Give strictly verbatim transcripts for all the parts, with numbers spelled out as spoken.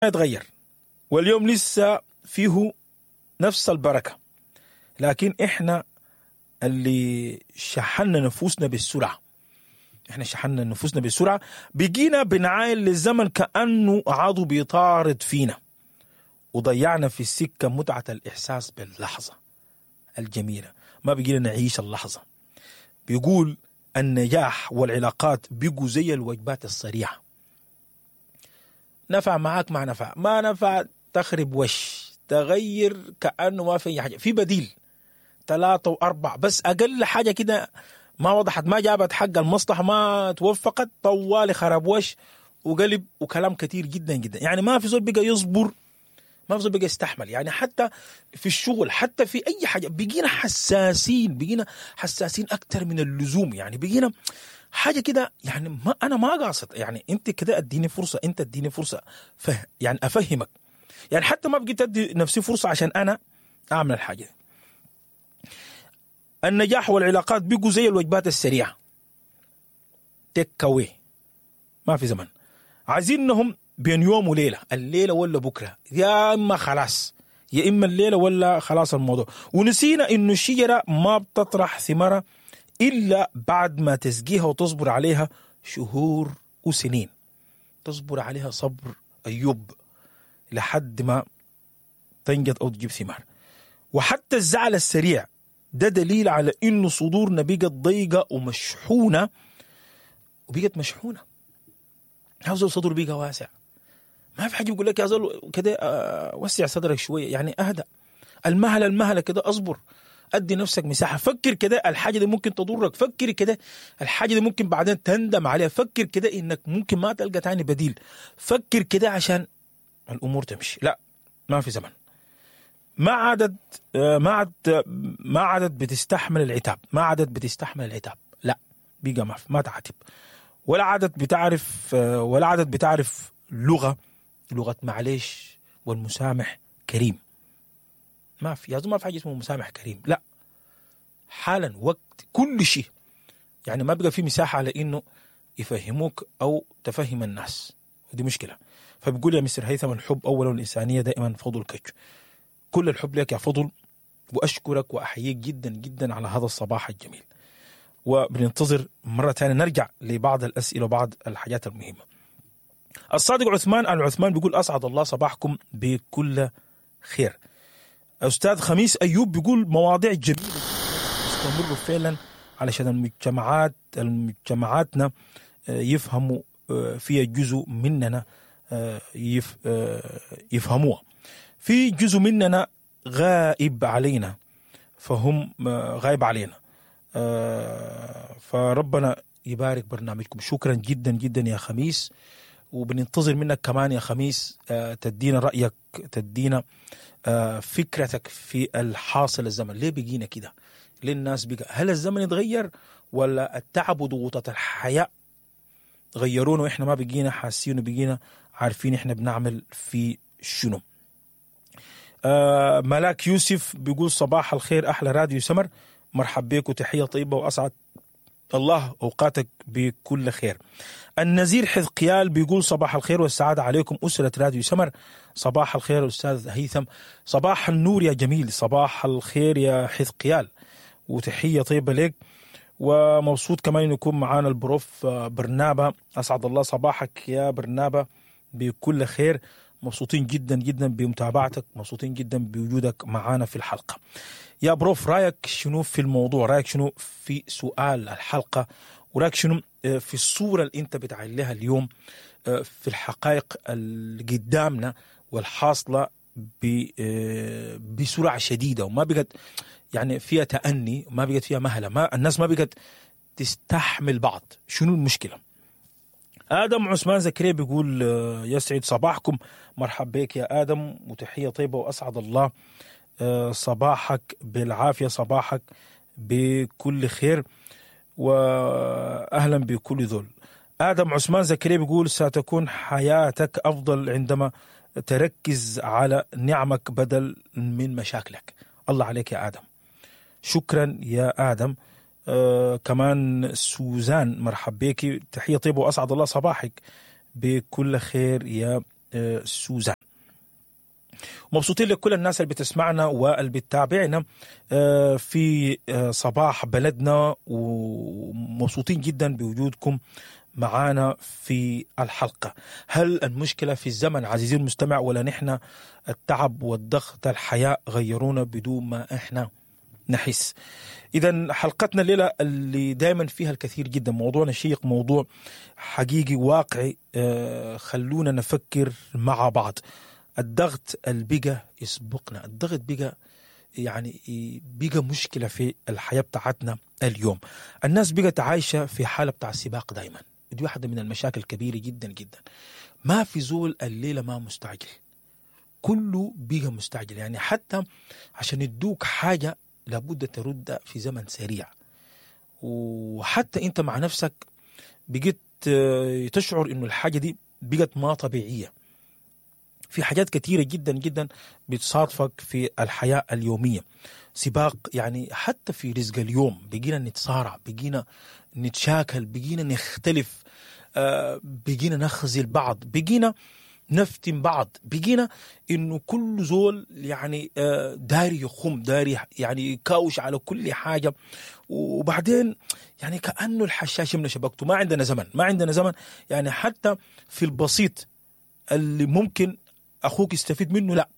اتغير، واليوم لسه فيه نفس البركة، لكن احنا اللي شحنا نفوسنا بالسرعة. احنا شحنا نفوسنا بالسرعة، بقينا بنعاين للزمن كأنه عضو بيطارد فينا، وضيعنا في السكة متعة الإحساس باللحظة الجميلة. ما بقينا نعيش اللحظة. بيقول النجاح والعلاقات بقوا زي الوجبات السريعة، نفع معاك ما نفع، ما نفع تخرب وش، تغير كأنه ما في حاجة، في بديل ثلاثة وأربعة، بس أقل حاجة كده ما وضحت، ما جابت حق المصلحة، ما توفقت، طوالي خرب وش وقلب وكلام كتير جدا جدا. يعني ما في زول بقى يصبر، ما في زول بقى يستحمل. يعني حتى في الشغل، حتى في أي حاجة، بقينا حساسين، بقينا حساسين أكتر من اللزوم. يعني بقينا حاجة كده، يعني ما أنا ما قاصد، يعني أنت كده أديني فرصة، أنت أديني فرصة فه يعني أفهمك. يعني حتى ما بقيت أدي نفسي فرصة عشان أنا أعمل الحاجة دي. النجاح والعلاقات بقوا زي الوجبات السريعة، تيك أواي، ما في زمن. عايزينهم بين يوم وليلة، الليلة ولا بكرة، يا إما خلاص، يا إما الليلة ولا خلاص الموضوع. ونسينا إنه الشجرة ما بتطرح ثمرة إلا بعد ما تسقيها وتصبر عليها شهور وسنين، تصبر عليها صبر أيوب لحد ما تنجد أو تجيب ثمار. وحتى الزعل السريع ده دليل على إنه صدورنا بقت ضيقة ومشحونة، وبقت مشحونة. عاوز صدر بقى واسع، ما في حاجة بيقول لك يا زول كده وسع صدرك شوية، يعني أهدأ، المهلة المهلة كده، أصبر، أدي نفسك مساحة، فكر كده الحاجة دي ممكن تضرك، فكر كده الحاجة دي ممكن بعدين تندم عليها، فكر كده إنك ممكن ما تلقى تاني بديل، فكر كده عشان الأمور تمشي. لا، ما في زمن. ما عادت ما عادت ما عادت بتستحمل العتاب، ما عادت بتستحمل العتاب، لا بقى ما ما تعاتب، ولا عادت بتعرف ولا عادت بتعرف لغة لغة معلش والمسامح كريم. ما في يا زلمة، ما في حاجة اسمه مسامح كريم، لا، حالا وقت كل شيء. يعني ما بقى في مساحة على إنه يفهموك أو تفهم الناس، ودي مشكلة. فبيقول يا مستر هيثم، الحب أولا والإنسانية دائما فضل كج. كل الحب لك يا فضل، وأشكرك وأحييك جدا جدا على هذا الصباح الجميل. وبننتظر مرة ثانية نرجع لبعض الأسئلة وبعض الحاجات المهمة. الصادق عثمان العثمان بيقول أسعد الله صباحكم بكل خير. أستاذ خميس أيوب بيقول مواضيع جميلة استمروا فعلا علشان المجتمعات المجتمعاتنا يفهموا فيها جزء مننا يفهموها، في جزء مننا غائب علينا، فهم غايب علينا، فربنا يبارك برنامجكم. شكرا جدا جدا يا خميس، وبننتظر منك كمان يا خميس تدينا رأيك، تدينا فكرتك في الحاصل الزمن. ليه بقينا كده؟ ليه الناس بقى؟ هل الزمن اتغير ولا التعب وضغوطات الحياة غيرونا وإحنا ما بقينا حاسين وبقينا عارفين إحنا بنعمل في شنو؟ آه ملاك يوسف بيقول صباح الخير أحلى راديو سمر، مرحب بك وتحية طيبة وأسعد الله أوقاتك بكل خير. النزير حذقيال بيقول صباح الخير والسعادة عليكم أسرة راديو سمر. صباح الخير أستاذ هيثم، صباح النور يا جميل، صباح الخير يا حذقيال وتحية طيبة لك. ومبسوط كمان إنه يكون معانا البروف برنابة، أسعد الله صباحك يا برنابة بكل خير. مبسوطين جدا جدا بمتابعتك، مبسوطين جدا بوجودك معانا في الحلقة. يا بروف، رأيك شنو في الموضوع؟ رأيك شنو في سؤال الحلقة؟ ورأيك شنو في الصورة اللي انت بتعليها اليوم في الحقائق اللي قدامنا والحاصلة بسرعة شديدة، وما بقت يعني فيها تأني، ما بقت فيها مهلة، ما الناس ما بقت تستحمل بعض. شنو المشكلة؟ آدم عثمان زكريا بيقول يسعد صباحكم، مرحب بك يا آدم وتحية طيبة وأسعد الله صباحك بالعافية، صباحك بكل خير وأهلا بكل ذل. آدم عثمان زكريا بيقول ستكون حياتك أفضل عندما تركز على نعمك بدل من مشاكلك. الله عليك يا آدم، شكرا يا آدم. آه كمان سوزان مرحب بك، تحية طيبة وأسعد الله صباحك بكل خير يا آه، سوزان. مبسوطين لكل الناس اللي بتسمعنا واللي بتتابعنا آه، في آه، صباح بلدنا، ومبسوطين جدا بوجودكم معانا في الحلقة. هل المشكلة في الزمن عزيزي المستمع، ولا نحن التعب والضغط الحياة غيرونا بدون ما احنا نحس؟ إذا حلقتنا الليلة اللي دايما فيها الكثير جدا، موضوعنا شيق، موضوع حقيقي واقعي، آه، خلونا نفكر مع بعض. الضغط اللي بقى يسبقنا، الضغط بقى يعني بقى مشكلة في الحياة بتاعتنا اليوم. الناس بقت عايشة في حالة بتاع السباق دايما، دي واحدة من المشاكل الكبيرة جدا جدا. ما في زول الليلة ما مستعجل، كله بقى مستعجل. يعني حتى عشان يدوك حاجة لابد ترد في زمن سريع، وحتى انت مع نفسك بقيت آه، تشعر انه الحاجة دي بقت ما طبيعية. في حاجات كثيرة جدا جدا بتصادفك في الحياة اليومية، سباق يعني حتى في رزق اليوم بقينا نتصارع، بقينا نتشاكل، بقينا نختلف، آه، بقينا نخزل بعض، بقينا نفتن بعض، بقينا انه كل زول يعني آه، داري يخم، داري يعني يكاوش على كل حاجة. وبعدين يعني كأنه الحشاش من شبكته، ما عندنا زمن، ما عندنا زمن. يعني حتى في البسيط اللي ممكن اخوك يستفيد منه، لا،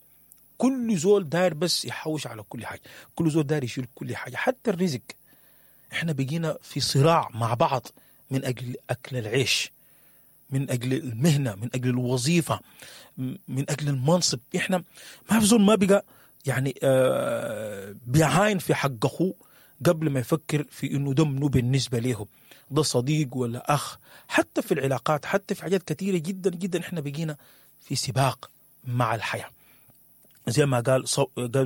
كل زول داير بس يحوش على كل حاجة، كل زول داير يشيل كل حاجة، حتى الرزق. احنا بقينا في صراع مع بعض من اجل اكل العيش، من اجل المهنة، من اجل الوظيفة، من اجل المنصب. احنا ما في زول ما بقى يعني آه بيعاين في حق اخوه قبل ما يفكر في انه ده منو بالنسبة له، ده صديق ولا اخ. حتى في العلاقات، حتى في حاجات كثيرة جدا جدا احنا بقينا في سباق مع الحياة. زي ما قال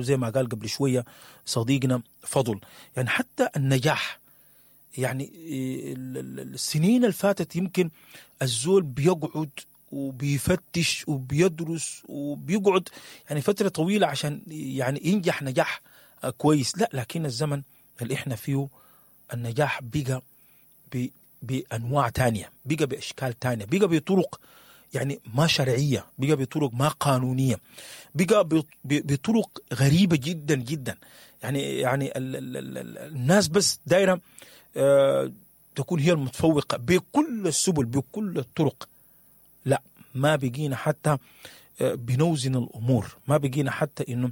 زي ما قال قبل شوية صديقنا فضل، يعني حتى النجاح، يعني السنين اللي فاتت يمكن الزول بيقعد وبيفتش وبيدرس وبيقعد يعني فترة طويلة عشان يعني ينجح نجاح كويس. لا، لكن الزمن اللي احنا فيه النجاح بقى بأنواع تانية، بقى بأشكال تانية، بقى بطرق يعني ما شرعية، بقى بطرق ما قانونية، بقى بطرق غريبة جدا جدا. يعني يعني ال ال ال الناس بس دايرة آه تكون هي المتفوقة بكل السبل بكل الطرق. لا، ما بقينا حتى آه بنوزن الأمور، ما بقينا حتى إنه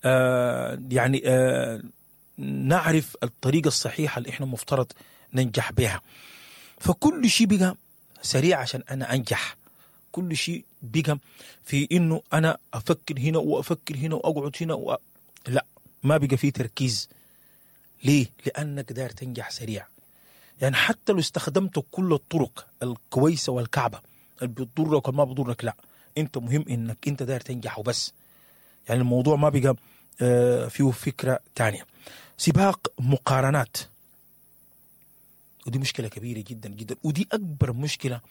آه يعني آه نعرف الطريقة الصحيحة اللي إحنا مفترض ننجح بها. فكل شيء بقى سريع عشان أنا أنجح، كل شيء بقى في إنه أنا أفكر هنا وأفكر هنا وأقعد هنا و... لا، ما بقى فيه تركيز. ليه؟ لأنك داير تنجح سريع. يعني حتى لو استخدمت كل الطرق الكويسة والكعبة اللي بتضرك وما بتضرك، لا، أنت مهم إنك أنت داير تنجح وبس. يعني الموضوع ما بقى فيه فكرة تانية. سباق مقارنات، ودي مشكلة كبيرة جدا جدا، ودي أكبر مشكلة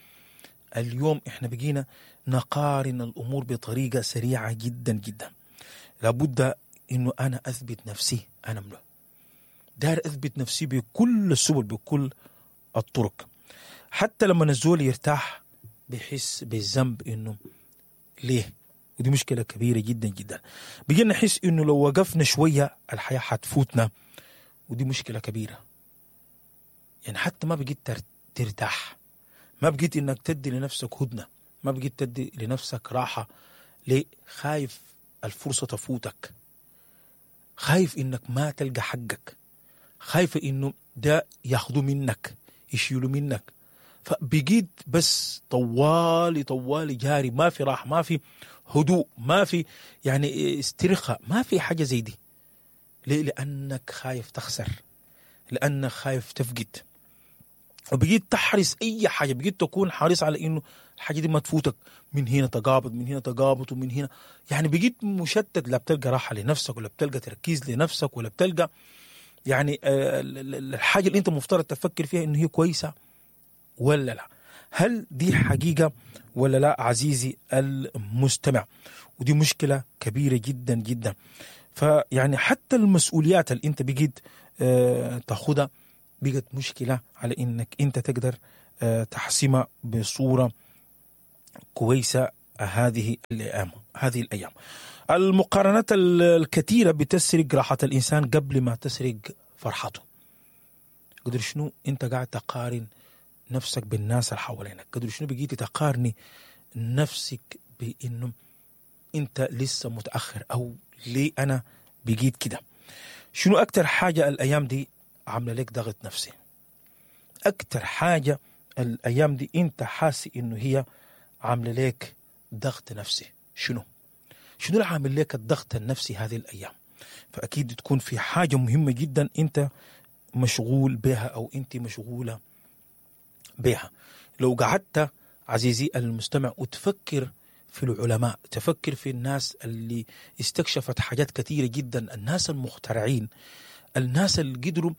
اليوم. إحنا بقينا نقارن الأمور بطريقة سريعة جدا جدا. لابد إنه أنا أثبت نفسي، أنا ملو داير أثبت نفسي بكل السبل بكل الطرق. حتى لما الزول يرتاح بيحس بالذنب إنه ليه، ودي مشكلة كبيرة جدا جدا. بقينا نحس إنه لو وقفنا شوية الحياة حتفوتنا، ودي مشكلة كبيرة. يعني حتى ما بقيت ترتاح، ما بقيت إنك تدي لنفسك هدنة، ما بقيت تدي لنفسك راحة. ليه؟ خايف الفرصة تفوتك، خايف إنك ما تلقى حقك، خايف إنه ده ياخذوا منك، يشيلوا منك. فبقيت بس طوالي طوالي جاري، ما في راحة، ما في هدوء، ما في يعني استرخاء، ما في حاجة زي دي. ليه؟ لأنك خايف تخسر، لأنك خايف تفقد، وبقيت تحرص أي حاجة، بقيت تكون حريص على إنه الحاجة دي ما تفوتك، من هنا تقابض، من هنا تقابض، ومن هنا يعني بقيت مشتت. لا بتلقى راحة لنفسك، ولا بتلقى تركيز لنفسك، ولا بتلقى يعني الحاجة اللي أنت مفترض تفكر فيها إنه هي كويسة ولا لا. هل دي حقيقة ولا لا عزيزي المستمع؟ ودي مشكلة كبيرة جدا جدا. فيعني حتى المسؤوليات اللي أنت بقيت تاخدها بقت مشكلة على إنك أنت تقدر تحسمها بصورة كويسة هذه الايام هذه الايام. المقارنات الكثيرة بتسرق راحة الانسان قبل ما تسرق فرحته. قدر شنو انت قاعد تقارن نفسك بالناس اللي حوالينك؟ قدر شنو بقيتي تقارني نفسك بانه انت لسه متاخر، او ليه انا بقيت كده؟ شنو اكتر حاجة الايام دي عامله لك ضغط نفسي؟ اكتر حاجة الايام دي انت حاسس انه هي عامله لك ضغط نفسي شنو؟ شنو اللي عامل لك الضغط النفسي هذه الايام؟ فاكيد تكون في حاجة مهمة جدا انت مشغول بها او انت مشغولة بها. لو قعدت عزيزي المستمع وتفكر في العلماء، تفكر في الناس اللي استكشفت حاجات كثيرة جدا، الناس المخترعين، الناس اللي قدروا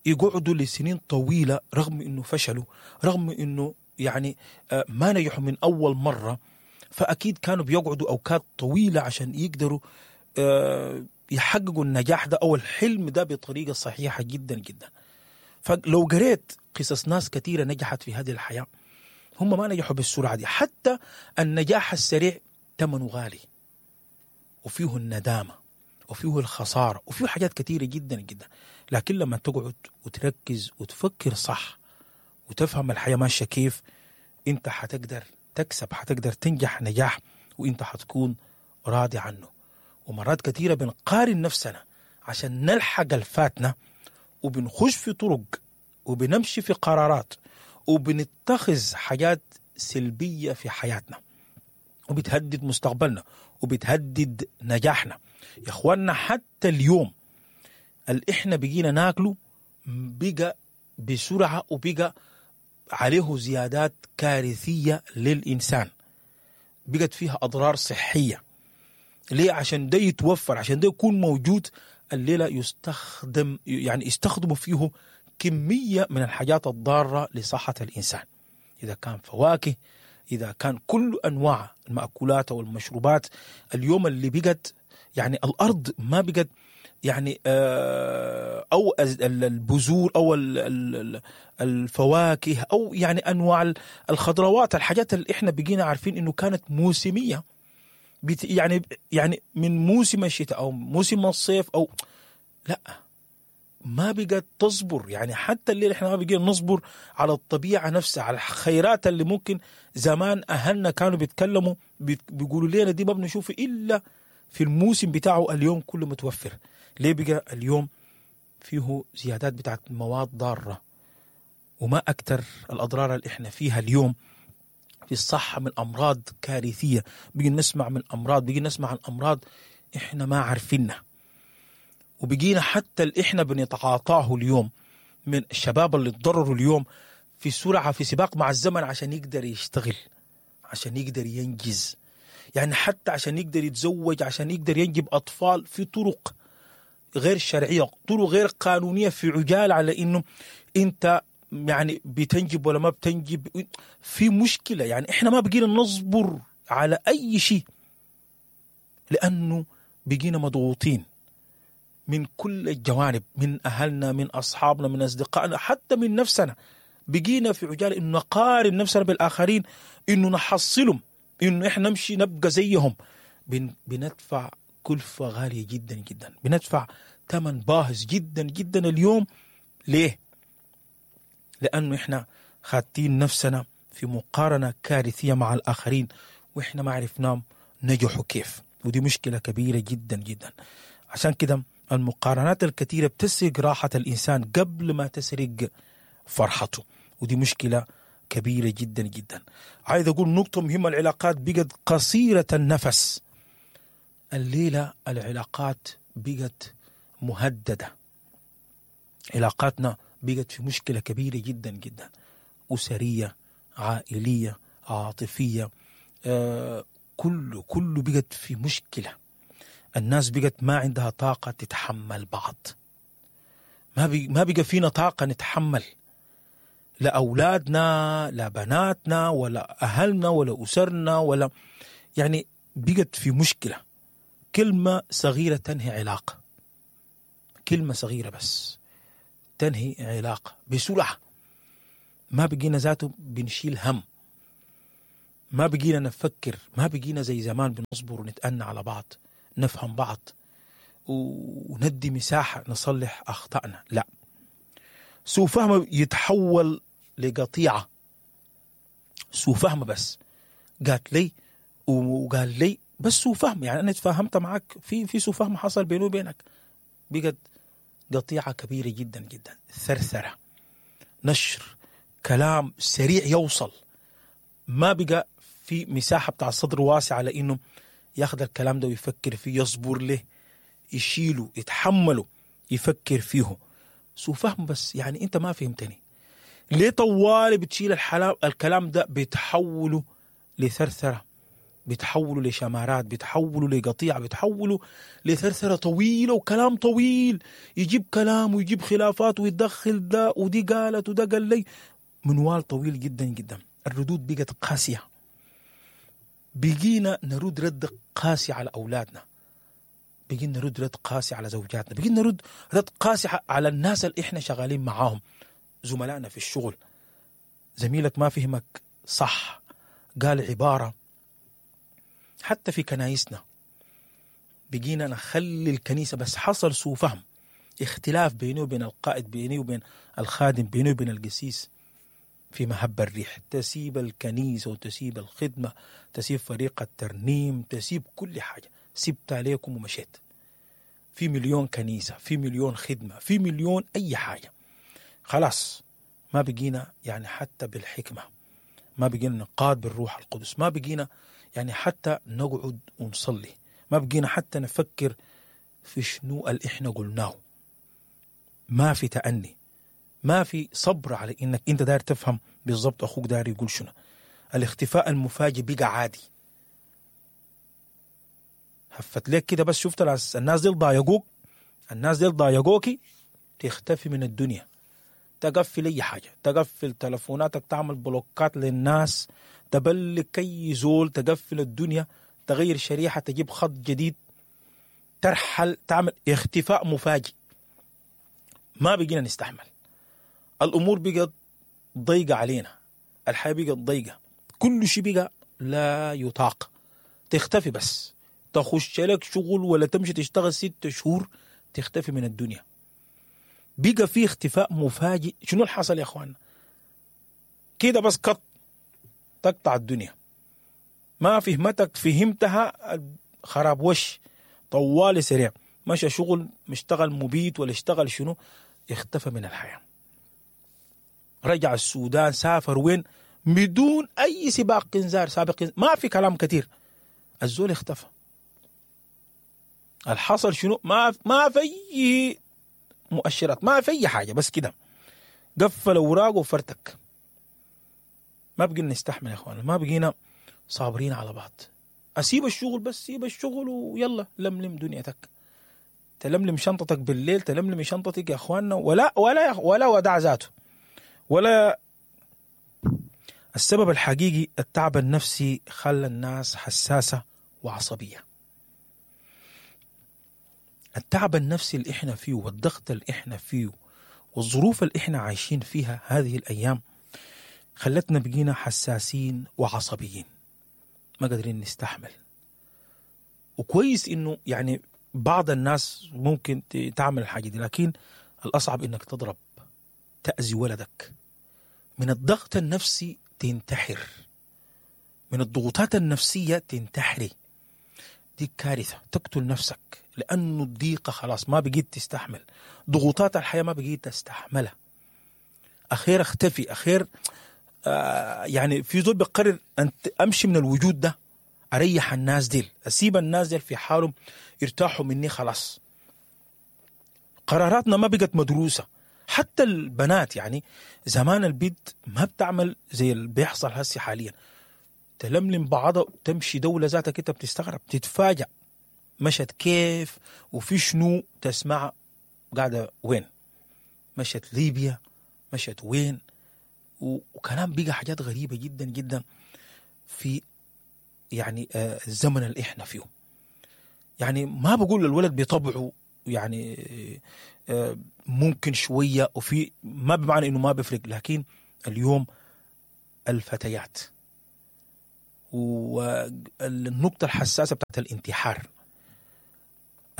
يقعدوا لسنين طويلة رغم انه فشلوا، رغم انه يعني ما نجحوا من اول مرة، فاكيد كانوا بيقعدوا اوقات طويلة عشان يقدروا يحققوا النجاح ده او الحلم ده بطريقة صحيحة جدا جدا. فلو قريت قصص ناس كثيرة نجحت في هذه الحياة، هم ما نجحوا بالسرعة دي. حتى النجاح السريع ثمنه غالي، وفيه الندامة، وفيه الخسارة، وفيه حاجات كثيرة جدا جدا. لكن لما تقعد وتركز وتفكر صح وتفهم الحياة ماشية كيف، انت حتقدر تكسب، حتقدر تنجح نجاح وانت حتكون راضي عنه. ومرات كثيرة بنقارن نفسنا عشان نلحق الفاتنة، وبنخش في طرق، وبنمشي في قرارات، وبنتخذ حاجات سلبية في حياتنا، وبتهدد مستقبلنا، وبتهدد نجاحنا. يا اخواننا حتى اليوم اللي احنا بقينا ناكله بقى بسرعة، وبقى عليه زيادات كارثية للإنسان، بقت فيها أضرار صحية. ليه؟ عشان ده يتوفر، عشان ده يكون موجود. الليلة يستخدم يعني يستخدموا فيه كمية من الحاجات الضارة لصحة الإنسان، إذا كان فواكه، إذا كان كل أنواع المأكولات والمشروبات. اليوم اللي بقت يعني الأرض ما بقت يعني أو البذور أو الفواكه أو يعني أنواع الخضروات، الحاجات اللي إحنا بقينا عارفين إنه كانت موسمية، يعني يعني من موسم الشتاء أو موسم الصيف أو لا، ما بقت تصبر. يعني حتى اللي احنا ما بقينا نصبر على الطبيعة نفسها، على الخيرات اللي ممكن زمان أهلنا كانوا بيتكلموا بيقولوا لنا دي ما بنشوفه إلا في الموسم بتاعه، اليوم كله متوفر. ليه بقى اليوم فيه زيادات بتاعت مواد ضارة؟ وما أكتر الأضرار اللي احنا فيها اليوم في الصحة من أمراض كارثية. بقينا نسمع من أمراض، بقينا نسمع عن أمراض احنا ما عارفينها، وبقينا حتى اللي احنا بنتعاطاه اليوم من الشباب اللي تضرروا اليوم في سرعة، في سباق مع الزمن عشان يقدر يشتغل، عشان يقدر ينجز، يعني حتى عشان يقدر يتزوج، عشان يقدر ينجب أطفال، في طرق غير شرعية، طرق غير قانونية، في عجالة على إنه أنت يعني بتنجب ولا ما بتنجب، في مشكلة. يعني إحنا ما بقينا نصبر على أي شيء لأنه بقينا مضغوطين من كل الجوانب، من أهلنا، من أصحابنا، من أصدقائنا، حتى من نفسنا. بقينا في عجالة إنه نقارن نفسنا بالآخرين، إنه نحصلهم، إنه إحنا نمشي نبقى زيهم. بن بندفع كلفة غالية جدا جدا، بندفع ثمن باهظ جدا جدا اليوم. ليه؟ لأنه إحنا خاتين نفسنا في مقارنة كارثية مع الآخرين، وإحنا ما عرفناهم نجحوا كيف، ودي مشكلة كبيرة جدا جدا. عشان كده المقارنات الكثيرة بتسرق راحة الإنسان قبل ما تسرق فرحته، ودي مشكلة كبيرة جدا جدا. عايز أقول نقطة مهمة، العلاقات بقت قصيرة النفس. الليلة العلاقات بقت مهددة، علاقاتنا بقت في مشكلة كبيرة جدا جدا، أسرية، عائلية، عاطفية، آه كله كله بقت في مشكلة. الناس بقت ما عندها طاقة تتحمل بعض، ما بي ما بقى فينا طاقة نتحمل، لا أولادنا، لا بناتنا، ولا أهلنا، ولا أسرنا، ولا يعني بقت في مشكلة. كلمة صغيرة تنهي علاقة، كلمة صغيرة بس تنهي علاقة بسرعة. ما بقينا ذاته بنشيل هم. ما بقينا نفكر، ما بقينا زي زمان بنصبر ونتأنى على بعض، نفهم بعض وندي مساحة نصلح أخطائنا. لا، سوء فهم يتحول لقطيعة. سوء فهم بس، قالت لي وقال لي بس سوء فهم، يعني أنا اتفاهمت معك في في سوء فهم حصل بيني وبينك، بقت قطيعة كبيرة جدا جدا. ثرثرة، نشر كلام سريع يوصل، ما بقى في مساحة بتاع الصدر واسع على إنه ياخذ الكلام ده ويفكر فيه، يصبر له، يشيله، يتحمله، يفكر فيه. سوء فهم بس، يعني أنت ما فهمتني ليه طوالي بتشيل الحلام الكلام ده، بتحوله لثرثرة، بتحوله لشمارات، بتحوله لقطيعة، بتحوله لثرثرة طويلة وكلام طويل، يجيب كلام ويجيب خلافات ويدخل ده ودي قالت وده قال لي، منوال طويل جدا جدا. الردود بقت قاسية، بقينا نرد رد قاسي على أولادنا، بقينا نرد رد قاسي على زوجاتنا، بقينا نرد رد قاسي على الناس اللي احنا شغالين معاهم، زملائنا في الشغل. زميلك ما فهمك صح، قال عبارة. حتى في كنايسنا بقينا نخلي الكنيسة بس حصل سوء فهم، اختلاف بيني وبين القائد، بيني وبين الخادم، بيني وبين القسيس، في مهب الريح تسيب الكنيسة وتسيب الخدمة، تسيب فريق الترنيم، تسيب كل حاجة، سبت عليكم ومشيت. في مليون كنيسة، في مليون خدمة، في مليون أي حاجة. خلاص ما بقينا يعني حتى بالحكمة، ما بقينا نقاد بالروح القدس، ما بقينا يعني حتى نقعد ونصلي، ما بقينا حتى نفكر في شنو اللي احنا قلناه. ما في تأني، ما في صبر على انك انت داير تفهم بالضبط اخوك داير يقول شنو. الاختفاء المفاجئ بقى عادي. هفت لك كده بس، شفت الناس دي ضايقوك، الناس دي ضايقوكي، تختفي من الدنيا، تقفل اي حاجه، تقفل تلفوناتك، تعمل بلوكات للناس، تبلك اي زول، تقفل الدنيا، تغير شريحه، تجيب خط جديد، ترحل، تعمل اختفاء مفاجئ. ما بقينا نستحمل، الامور بقت ضيقه علينا، الحياه بقت ضيقه، كل شيء بقى لا يطاق. تختفي بس، تخش لك شغل ولا تمشي تشتغل ست شهور، تختفي من الدنيا. بقى في اختفاء مفاجئ. شنو اللي حصل يا اخوان؟ كده بس قط تقطع الدنيا، ما فهمتك فهمتها خراب وش، طوالي سريع، مشى شغل، مشتغل مبيت ولا اشتغل شنو، اختفى من الحياة. رجع السودان، سافر وين، بدون اي سباق انذار سابق انذار، ما في كلام كثير، الزول اختفى. الحصل شنو؟ ما ما في مؤشرات، ما في اي حاجه، بس كده قفل اوراقه وفرتك. ما بقينا نستحمل يا اخوانا، ما بقينا صابرين على بعض. اسيب الشغل بس، سيب الشغل ويلا لملم دنيتك، تلملم شنطتك بالليل، تلملم شنطتك يا اخواننا، ولا ولا ولا ودع ذاته ولا. السبب الحقيقي التعب النفسي خلى الناس حساسة وعصبية. التعب النفسي اللي احنا فيه، والضغط اللي احنا فيه، والظروف اللي احنا عايشين فيها هذه الأيام، خلتنا بقينا حساسين وعصبيين، ما قادرين نستحمل. وكويس انه يعني بعض الناس ممكن تعمل الحاجة دي، لكن الأصعب انك تضرب، تأذي ولدك. من الضغط النفسي تنتحر، من الضغوطات النفسية تنتحري، دي كارثة، تقتل نفسك، لأنه الضيقة خلاص ما بقيت تستحمل، ضغوطات الحياة ما بقيت تستحملها. أخير اختفي، أخير آه يعني في زول بقرر أن أمشي من الوجود ده، أريح الناس ديل، أسيب الناس ديل في حالهم، يرتاحوا مني خلاص. قراراتنا ما بقت مدروسة. حتى البنات يعني زمان البيت ما بتعمل زي اللي بيحصل هسي حاليا، تلملم بعضها تمشي دولة ذاتك انت بتستغرب، تتفاجأ مشت كيف وفي شنو، تسمع قاعدة وين، مشت ليبيا، مشت وين، وكلام بقى حاجات غريبة جدا جدا في يعني الزمن اللي احنا فيه. يعني ما بقول الولد بطبعه يعني ممكن شوية وفي، ما بمعنى انه ما بيفرق، لكن اليوم الفتيات والنقطة الحساسة بتاعت الانتحار،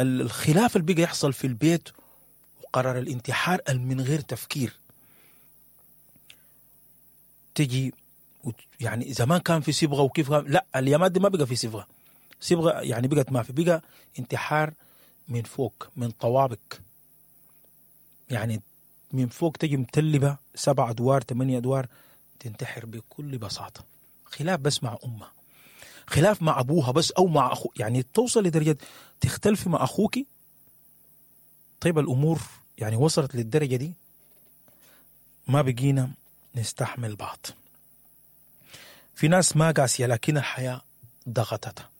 الخلاف اللي بقى يحصل في البيت وقرار الانتحار من غير تفكير. تجي يعني زمان كان في صبغة وكيف، لا اليامات دي ما بقى في صبغة، صبغة يعني بقت ما في، بقى انتحار من فوق، من طوابق، يعني من فوق تجي متلبة سبع أدوار ثمانية أدوار تنتحر بكل بساطة. خلاف بس مع أمها، خلاف مع أبوها بس أو مع أخو، يعني توصل لدرجة تختلف مع أخوك. طيب الأمور يعني وصلت للدرجة دي، ما بقينا نستحمل بعض. في ناس ما قاسية لكن الحياة ضغطتها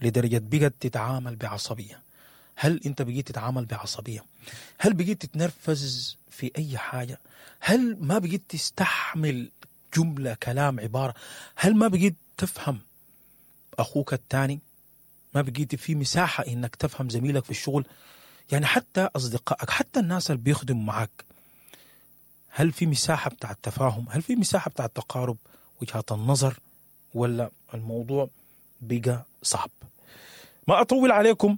لدرجة بقت تتعامل بعصبية. هل أنت بقيت تتعامل بعصبية؟ هل بقيت تتنرفز في أي حاجة؟ هل ما بقيت تستحمل جملة، كلام، عبارة؟ هل ما بقيت تفهم أخوك الثاني؟ ما بقيت في مساحة إنك تفهم زميلك في الشغل؟ يعني حتى أصدقائك، حتى الناس اللي بيخدموا معك، هل في مساحة بتاع التفاهم؟ هل في مساحة بتاع التقارب وجهات النظر؟ ولا الموضوع بقى صعب؟ ما أطول عليكم،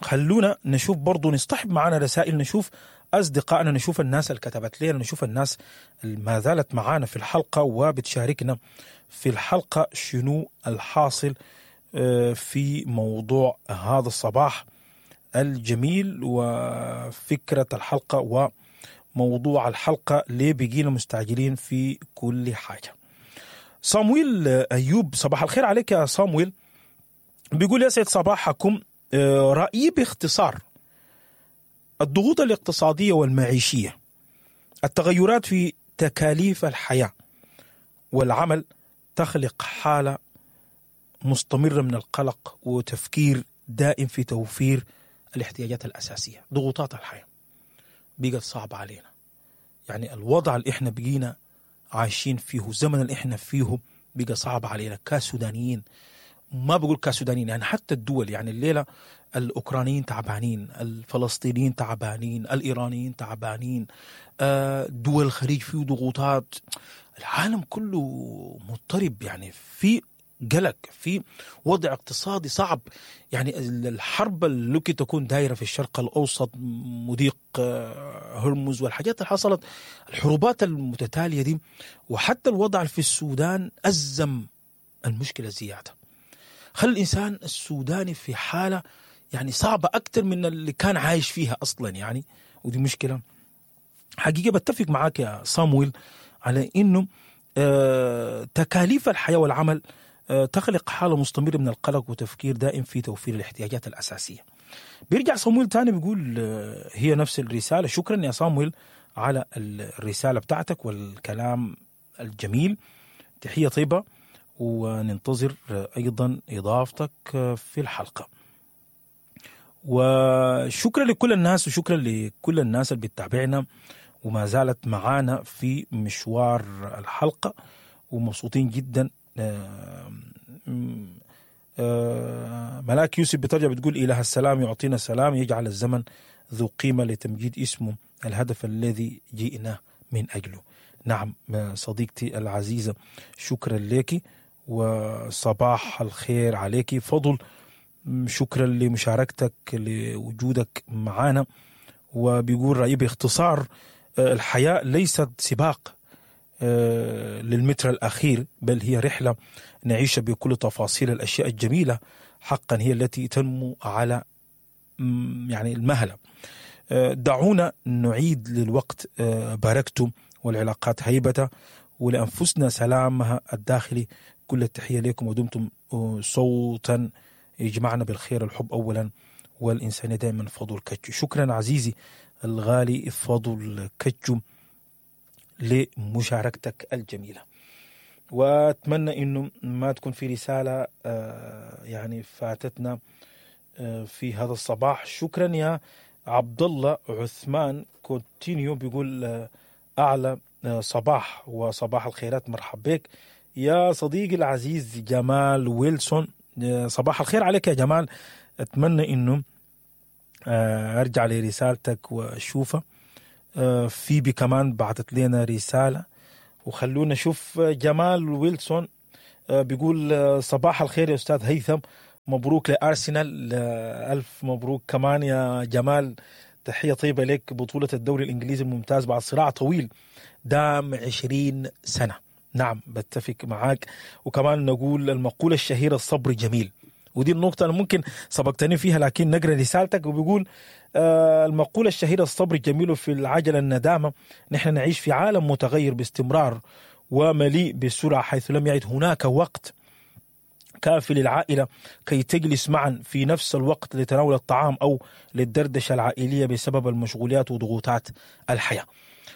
خلونا نشوف برضو، نصطحب معنا رسائل، نشوف أصدقائنا، نشوف الناس اللي كتبت لنا، نشوف الناس اللي ما زالت معانا في الحلقة وبتشاركنا في الحلقة شنو الحاصل في موضوع هذا الصباح الجميل وفكرة الحلقة وموضوع الحلقة، ليه بقينا مستعجلين في كل حاجة. صامويل أيوب، صباح الخير عليك يا صامويل. بيقول يسعد صباحكم، رأيي باختصار: الضغوط الاقتصادية والمعيشية، التغيرات في تكاليف الحياة والعمل تخلق حالة مستمرة من القلق وتفكير دائم في توفير الاحتياجات الأساسية. ضغوطات الحياة بقت صعبة علينا، يعني الوضع اللي احنا بقينا عايشين فيه، الزمن اللي احنا فيه بقى صعب علينا كسودانيين. ما بقول كسودانيين، يعني حتى الدول، يعني الليلة الأوكرانيين تعبانين، الفلسطينيين تعبانين، الإيرانيين تعبانين، دول الخليج فيه ضغوطات، العالم كله مضطرب، يعني في قلق، في وضع اقتصادي صعب. يعني الحرب اللي تكون دايرة في الشرق الأوسط، مضيق هرمز والحاجات اللي حصلت، الحروبات المتتالية دي، وحتى الوضع في السودان أزم المشكلة زيادة، خلى الإنسان السوداني في حالة يعني صعبة أكتر من اللي كان عايش فيها أصلا يعني. ودي مشكلة حقيقة. بتفق معاك يا صامويل على إنه آه تكاليف الحياة والعمل آه تخلق حالة مستمرة من القلق وتفكير دائم في توفير الاحتياجات الأساسية. بيرجع صامويل تاني بيقول آه هي نفس الرسالة. شكرا يا صامويل على الرسالة بتاعتك والكلام الجميل، تحية طيبة، وننتظر أيضا إضافتك في الحلقة. وشكرا لكل الناس، وشكرا لكل الناس اللي بتتابعنا وما زالت معانا في مشوار الحلقة، ومبسوطين جدا. ملاك يوسف بترجع بتقول إله السلام يعطينا سلام، يجعل الزمن ذو قيمة لتمجيد اسمه، الهدف الذي جئنا من أجله. نعم صديقتي العزيزة، شكرا لك وصباح الخير عليك. فضل، شكرا لمشاركتك، لوجودك معنا. وبيقول رأيي باختصار: الحياة ليست سباق للمتر الأخير، بل هي رحلة نعيش بكل تفاصيل الأشياء الجميلة حقا هي التي تنمو على يعني المهلة. دعونا نعيد للوقت باركته والعلاقات هيبته، ولأنفسنا سلامها الداخلي. كل التحية لكم، ودمتم صوتا يجمعنا بالخير، الحب أولا والإنسانية دائما. فضل كتشو. شكرا عزيزي الغالي فضل كتشو لمشاركتك الجميلة، وأتمنى إنه ما تكون في رسالة يعني فاتتنا في هذا الصباح. شكرا يا عبد الله عثمان كونتينيو، بيقول أعلى صباح وصباح الخيرات، مرحب بك يا صديقي العزيز جمال ويلسون. صباح الخير عليك يا جمال، أتمنى إنه أرجع لرسالتك وأشوفها. فيبي كمان بعثت لنا رسالة، وخلونا نشوف جمال ويلسون. آه، بيقول آه، صباح الخير يا استاذ هيثم، مبروك لارسنال. آه، الف مبروك كمان يا جمال، تحية طيبة لك. بطوله الدوري الانجليزي الممتاز بعد صراع طويل دام عشرين سنة. نعم بتفق معاك. وكمان نقول المقولة الشهيرة الصبر جميل، ودي النقطة اللي ممكن سبقتني فيها، لكن نقرأ رسالتك. وبيقول آه المقولة الشهيرة الصبر جميل في العجلة الندامة. نحن نعيش في عالم متغير باستمرار ومليء بالسرعة، حيث لم يعد هناك وقت كافي للعائلة كي تجلس معا في نفس الوقت لتناول الطعام أو للدردشة العائلية بسبب المشغوليات وضغوطات الحياة.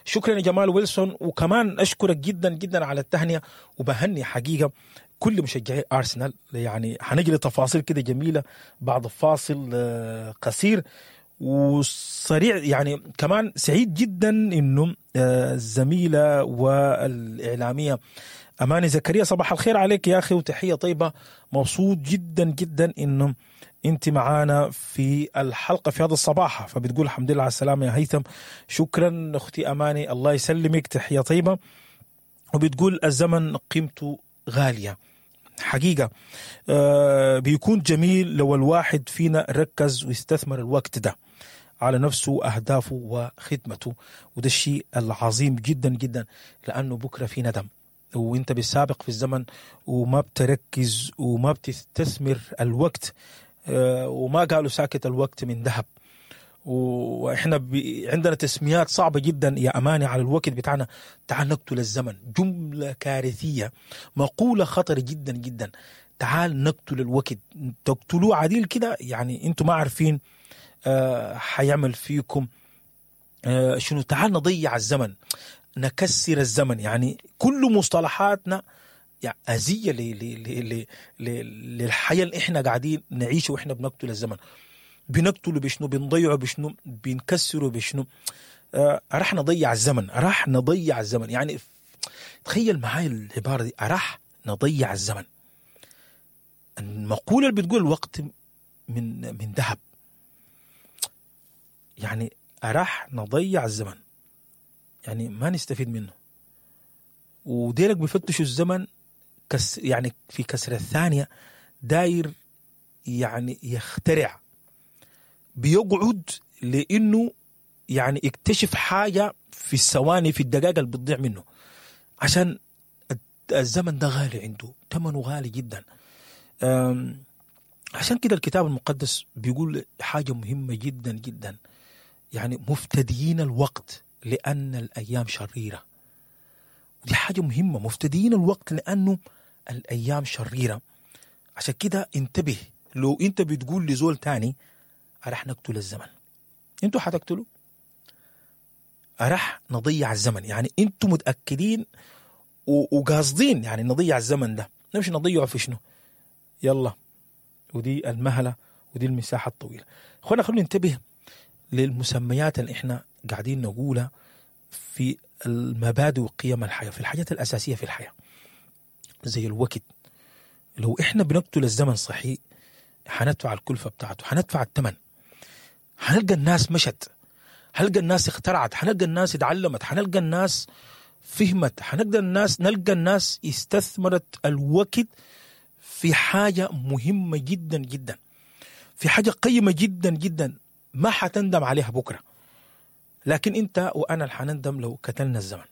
شكرا يا جمال ويلسون، وكمان أشكرك جدا جدا على التهنئة، وبهني حقيقة كل مشجعي أرسنال. يعني حنجري تفاصيل كده جميلة بعد فاصل آه، قصير وسريع. يعني كمان سعيد جدا انه آه، الزميلة والإعلامية أماني زكريا، صباح الخير عليك يا أخي وتحية طيبة. مبسوط جدا جدا انه انت معانا في الحلقة في هذا الصباح. فبتقول الحمد لله على السلامة يا هيثم. شكرا أختي أماني، الله يسلمك، تحية طيبة. وبتقول الزمن قيمته غالية حقيقة. آه بيكون جميل لو الواحد فينا ركز واستثمر الوقت ده على نفسه وأهدافه وخدمته، وده الشيء العظيم جدا جدا، لأنه بكرة في ندم، وانت بالسابق في الزمن وما بتركز وما بتستثمر الوقت. آه وما قالوا ساكت الوقت من ذهب. واحنا بي عندنا تسميات صعبة جدا يا أماني على الوقت بتاعنا. تعال نقتل الزمن، جملة كارثية، مقولة خطر جدا جدا. تعال نقتل الوقت، تقتلوه عديل كده، يعني انتم ما عارفين آه حيعمل فيكم آه شنو. تعال نضيع الزمن، نكسر الزمن. يعني كل مصطلحاتنا يعني أذية للحياة اللي احنا قاعدين نعيشه، واحنا بنقتل الزمن. بنقتله بشنو؟ بنضيعه بشنو؟ بنكسره بشنو؟ آه راح نضيع الزمن، راح نضيع الزمن. يعني تخيل معاي العبارة دي، راح نضيع الزمن. المقولة اللي بتقول الوقت من من ذهب، يعني راح نضيع الزمن، يعني ما نستفيد منه. وديرك بيفتشوا الزمن كس، يعني في كسر الثانية داير يعني يخترع، بيقعد لأنه يعني اكتشف حاجة في الثواني، في الدقائق اللي بتضيع منه، عشان الزمن ده غالي عنده، ثمنه غالي جدا. عشان كده الكتاب المقدس بيقول حاجة مهمة جدا جدا، يعني مفتديين الوقت لأن الأيام شريرة. ودي حاجة مهمة، مفتديين الوقت لأنه الأيام شريرة. عشان كده انتبه، لو انت بتقول لزول تاني راح نقتل الزمن، انتوا حتقتلوا، راح نضيع الزمن. يعني انتوا متأكدين وقاصدين يعني نضيع الزمن ده، نمشي نضيعه في شنو؟ يلا، ودي المهلة ودي المساحة الطويلة. اخوانا خلونا ننتبه للمسميات اللي احنا قاعدين نقولها في المبادئ وقيم الحياة، في الحاجات الأساسية في الحياة زي الوقت. لو احنا بنقتل الزمن صحيح حندفع الكلفة بتاعته، حندفع الثمن. حنلقى الناس مشت، حنلقى الناس اخترعت، حنلقى الناس اتعلمت، حنلقى الناس فهمت، حنلقى الناس نلقى الناس استثمرت الوقت في حاجة مهمة جدا جدا، في حاجة قيمة جدا جدا ما حتندم عليها بكرة. لكن انت وانا اللي حنندم لو قتلنا الزمن،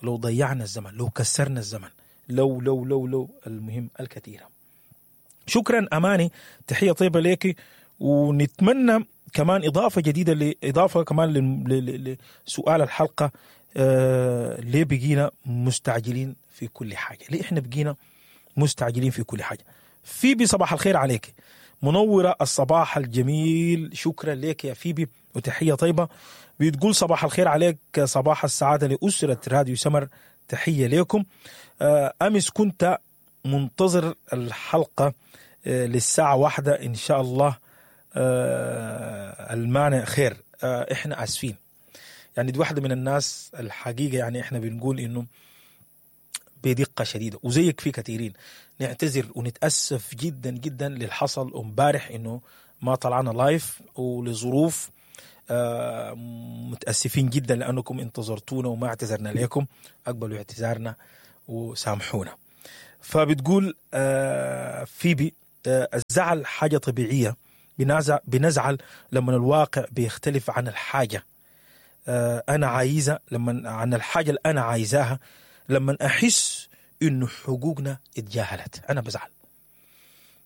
لو ضيعنا الزمن، لو كسرنا الزمن، لو لو لو لو المهم الكثيرة. شكرا أماني، تحية طيبة ليك، ونتمنى كمان إضافة جديدة، لإضافة كمان لسؤال الحلقة، آه ليه بقينا مستعجلين في كل حاجة؟ ليه إحنا بقينا مستعجلين في كل حاجة؟ فيبي صباح الخير عليك، منورة الصباح الجميل، شكرا لك يا فيبي وتحية طيبة. بتقول صباح الخير عليك، صباح السعادة لأسرة راديو سمر، تحية لكم. آه أمس كنت منتظر الحلقة للساعة واحدة إن شاء الله، المانع خير. إحنا آسفين، يعني دي واحدة من الناس الحقيقة، يعني إحنا بنقول إنه بدقة شديدة وزيك في كثيرين نعتذر ونتأسف جدا جدا للحصل امبارح إنه ما طلعنا لايف ولظروف، متأسفين جدا لأنكم انتظرتونا وما اعتذرنا لكم. أقبلوا اعتذارنا وسامحونا. فبتقول آه فيبي آه الزعل حاجة طبيعية، بنزعل, بنزعل لما الواقع بيختلف عن الحاجة آه انا عايزه، لما عن الحاجة اللي انا عايزاها، لما احس انه حقوقنا اتجاهلت انا بزعل.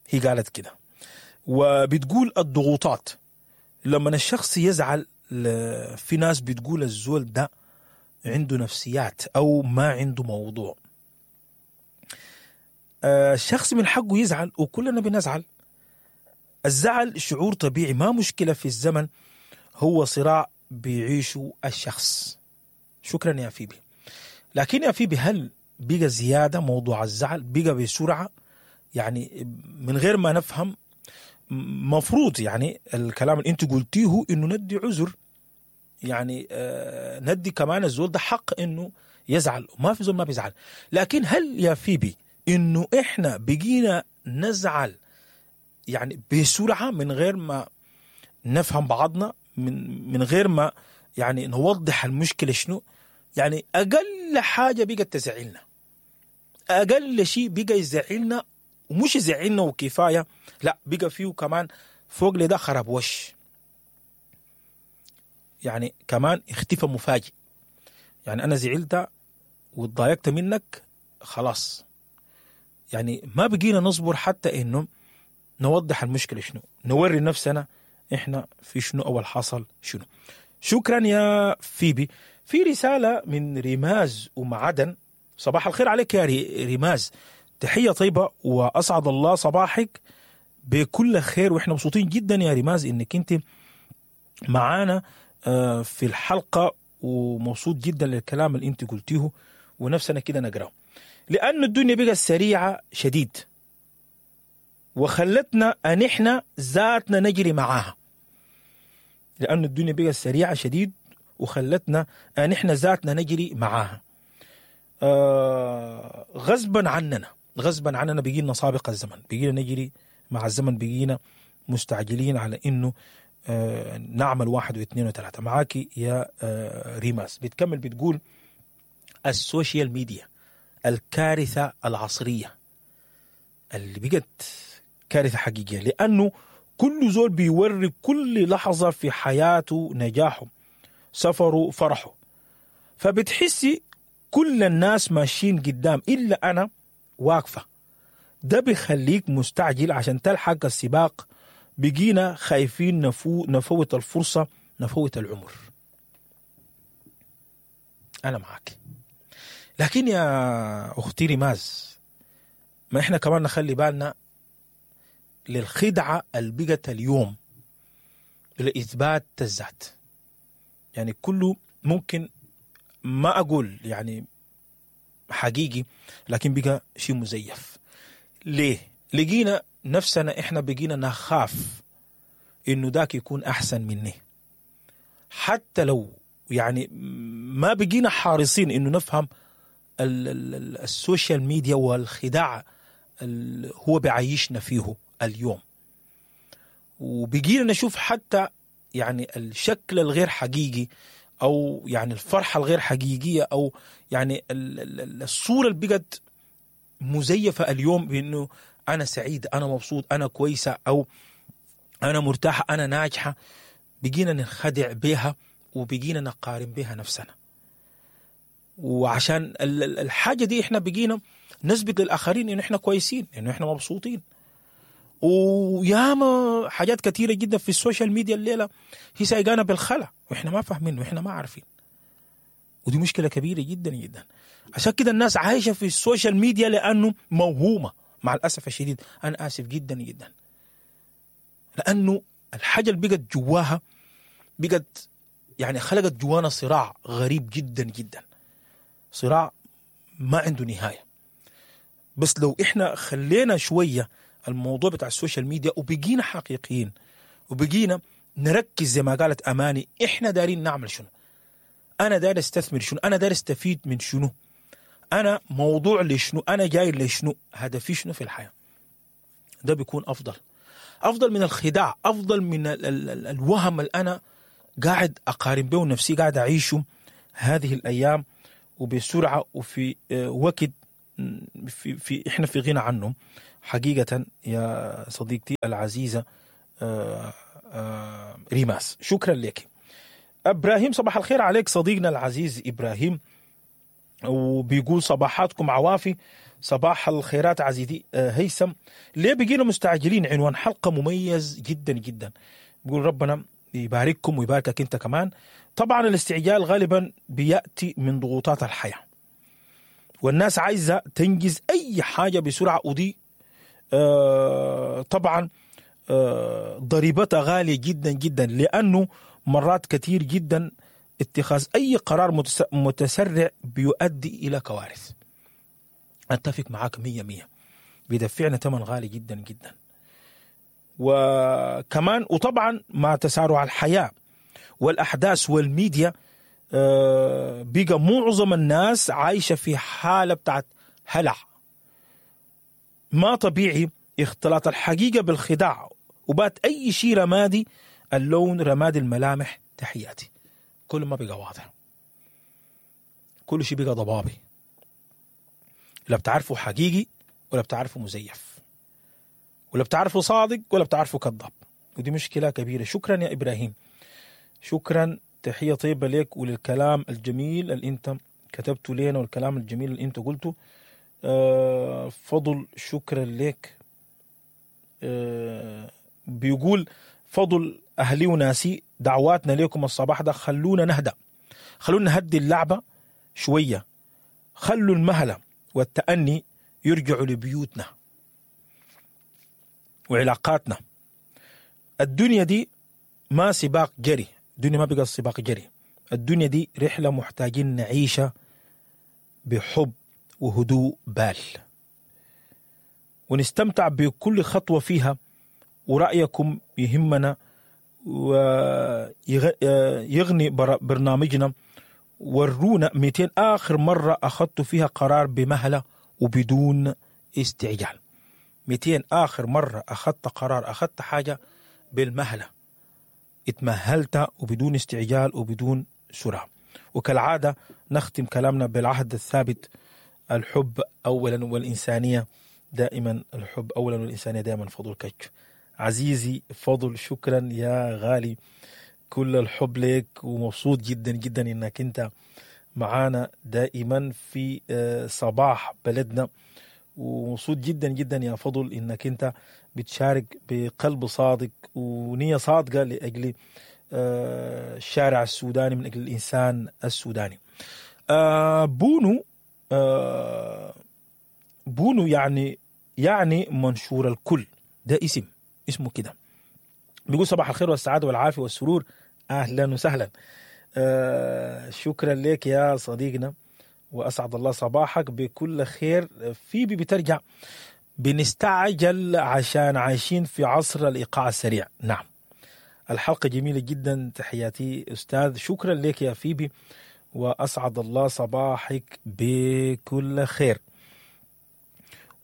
هي قالت كده. وبتقول الضغوطات، لما الشخص يزعل في ناس بتقول الزول ده عنده نفسيات او ما عنده موضوع. الشخص من حقه يزعل وكلنا بنزعل. الزعل شعور طبيعي، ما مشكلة في الزمن، هو صراع بيعيشه الشخص. شكرا يا فيبي. لكن يا فيبي هل بقى زيادة موضوع الزعل؟ بقى بسرعة يعني من غير ما نفهم؟ مفروض يعني الكلام اللي انت قلتيه انه ندي عذر، يعني آه ندي كمان الزول ده حق انه يزعل، وما في زول ما بيزعل. لكن هل يا فيبي انه احنا بقينا نزعل يعني بسرعة من غير ما نفهم بعضنا، من من غير ما يعني نوضح المشكلة شنو؟ يعني اقل حاجة بقت تزعلنا، اقل شيء بقى يزعلنا، ومش يزعلنا وكفاية، لا بقى فيه كمان فوق لده خراب وش، يعني كمان اختفى مفاجئ. يعني انا زعلت واتضايقت منك خلاص، يعني ما بقينا نصبر حتى انه نوضح المشكلة شنو، نوري نفسنا احنا في شنو اول حصل شنو. شكرا يا فيبي. في رسالة من ريماز ام عدن. صباح الخير عليك يا ريماز، تحية طيبة واسعد الله صباحك بكل خير، واحنا مبسوطين جدا يا ريماز انك انت معانا في الحلقة، ومبسوط جدا للكلام اللي انت قلتيه ونفسنا كده نقراه، لأن الدنيا بقت سريعة شديد وخلتنا أن إحنا ذاتنا نجري معاها. لأن الدنيا بقت سريعة شديد وخلتنا أن إحنا ذاتنا نجري معاها. آه غصبا عننا، غصبا عننا بقينا سابق الزمن، بقينا نجري مع الزمن، بقينا مستعجلين على إنه آه نعمل واحد واثنين وثلاثة. معاكي يا آه ريماس. بتكمل بتقول السوشيال ميديا الكارثة العصرية اللي بقت كارثة حقيقية، لأنه كل زول بيوري كل لحظة في حياته نجاحه، سفره، فرحه، فبتحسي كل الناس ماشيين قدام إلا أنا واقفة. ده بيخليك مستعجل عشان تلحق السباق. بقينا خايفين نفو نفوت الفرصة، نفوت العمر. أنا معاك، لكن يا أختي ريماز ما إحنا كمان نخلي بالنا للخدعة اللي بقت اليوم لإثبات الذات. يعني كله ممكن، ما أقول يعني حقيقي، لكن بقى شيء مزيف. ليه؟ لقينا نفسنا إحنا بقينا نخاف إنه ذاك يكون أحسن مني، حتى لو يعني ما بقينا حارصين إنه نفهم السوشيال ميديا والخداع اللي هو بعيشنا فيه اليوم. وبقينا نشوف حتى يعني الشكل الغير حقيقي، أو يعني الفرحة الغير حقيقية، أو يعني الصورة اللي بقت مزيفة اليوم بأنه أنا سعيد، أنا مبسوط، أنا كويسة، أو أنا مرتاحة، أنا ناجحة. بقينا نخدع بها وبقينا نقارن بها نفسنا. وعشان الحاجة دي إحنا بقينا نثبت للآخرين إنه إحنا كويسين، إنه إحنا مبسوطين. وياما حاجات كثيرة جدا في السوشيال ميديا الليلة هي سايقانا بالخلا، وإحنا ما فاهمين وإحنا ما عارفين، ودي مشكلة كبيرة جدا جدا. عشان كده الناس عايشة في السوشيال ميديا لأنه موهومة مع الأسف الشديد. أنا آسف جدا جدا، لأنه الحاجة اللي بقت جواها بقت يعني خلقت جوانا صراع غريب جدا جدا، صراع ما عنده نهاية. بس لو إحنا خلينا شوية الموضوع بتاع السوشيال ميديا وبقينا حقيقيين وبقينا نركز زي ما قالت أماني، إحنا دارين نعمل شنو، أنا داير استثمر شنو، أنا داير استفيد من شنو، أنا موضوع لشنو، أنا جاي لشنو، هدفي شنو في الحياة. ده بيكون أفضل، أفضل من الخداع، أفضل من ال ال ال الوهم اللي أنا قاعد أقارن به نفسي، قاعد أعيشه هذه الأيام وبسرعة وفي وقت في, في احنا في غنى عنه حقيقة يا صديقتي العزيزة آه، آه، ريماس. شكرا لك. ابراهيم صباح الخير عليك صديقنا العزيز ابراهيم، وبيقول صباحاتكم عوافي، صباح الخيرات عزيزي آه، هيثم. ليه بقينا مستعجلين؟ عنوان حلقة مميز جدا جدا. بيقول ربنا يبارككم ويباركك انت كمان. طبعا الاستعجال غالبا بياتي من ضغوطات الحياة، والناس عايزه تنجز اي حاجة بسرعة، ودي آه طبعا آه ضريبتها غالية جدا جدا، لانه مرات كثير جدا اتخاذ اي قرار متس- متسرع بيؤدي الى كوارث. اتفق معاك مية مية، بيدفعنا ثمن غالي جدا جدا. وكمان وطبعا مع تسارع الحياة والاحداث والميديا آه، بقى معظم الناس عايشه في حاله بتاعت هلع ما طبيعي، اختلاط الحقيقة بالخداع، وبات اي شيء رمادي اللون، رمادي الملامح. تحياتي. كل ما بقى واضح، كل شيء بقى ضبابي، لا بتعرفه حقيقي ولا بتعرفه مزيف، ولا بتعرفه صادق ولا بتعرفه كذاب، ودي مشكلة كبيرة. شكرا يا ابراهيم، شكرا، تحية طيبة لك وللكلام الجميل اللي انت كتبته لنا والكلام الجميل اللي انت قلته. آه، فضل شكرا لك. آه، بيقول فضل اهلي وناسي، دعواتنا لكم الصباح ده، خلونا نهدأ، خلونا نهدي اللعبة شوية، خلوا المهلة والتأني يرجعوا لبيوتنا وعلاقاتنا. الدنيا دي ما سباق جري، الدنيا ما بقى سباق جري، الدنيا دي رحلة محتاجين نعيشها بحب وهدوء بال، ونستمتع بكل خطوة فيها، ورأيكم يهمنا ويغني برنامجنا. ورونا مئتين آخر مرة أخذت فيها قرار بمهلة وبدون استعجال. مئتين آخر مرة أخذت قرار، أخذت حاجة بالمهلة، اتمهلت وبدون استعجال وبدون سرعة. وكالعادة نختم كلامنا بالعهد الثابت، الحب أولا والإنسانية دائما، الحب أولا والإنسانية دائما. فضل كتش عزيزي فضل، شكرا يا غالي، كل الحب لك، ومبسوط جدا جدا انك انت معانا دائما في آه، صباح بلدنا، ومبسوط جدا جدا يا فضل انك انت بتشارك بقلب صادق ونية صادقة لأجل آه، الشارع السوداني، من أجل الإنسان السوداني. آه، بونو آه، بونو يعني يعني منشور الكل، ده اسم اسمه كده. بيقول صباح الخير والسعادة والعافية والسرور، أهلا وسهلا. آه، شكرا لك يا صديقنا، وأسعد الله صباحك بكل خير. فيبي بترجع بنستعجل عشان عايشين في عصر الإيقاع السريع. نعم، الحلقة جميلة جدا، تحياتي أستاذ. شكرا لك يا فيبي، وأسعد الله صباحك بكل خير.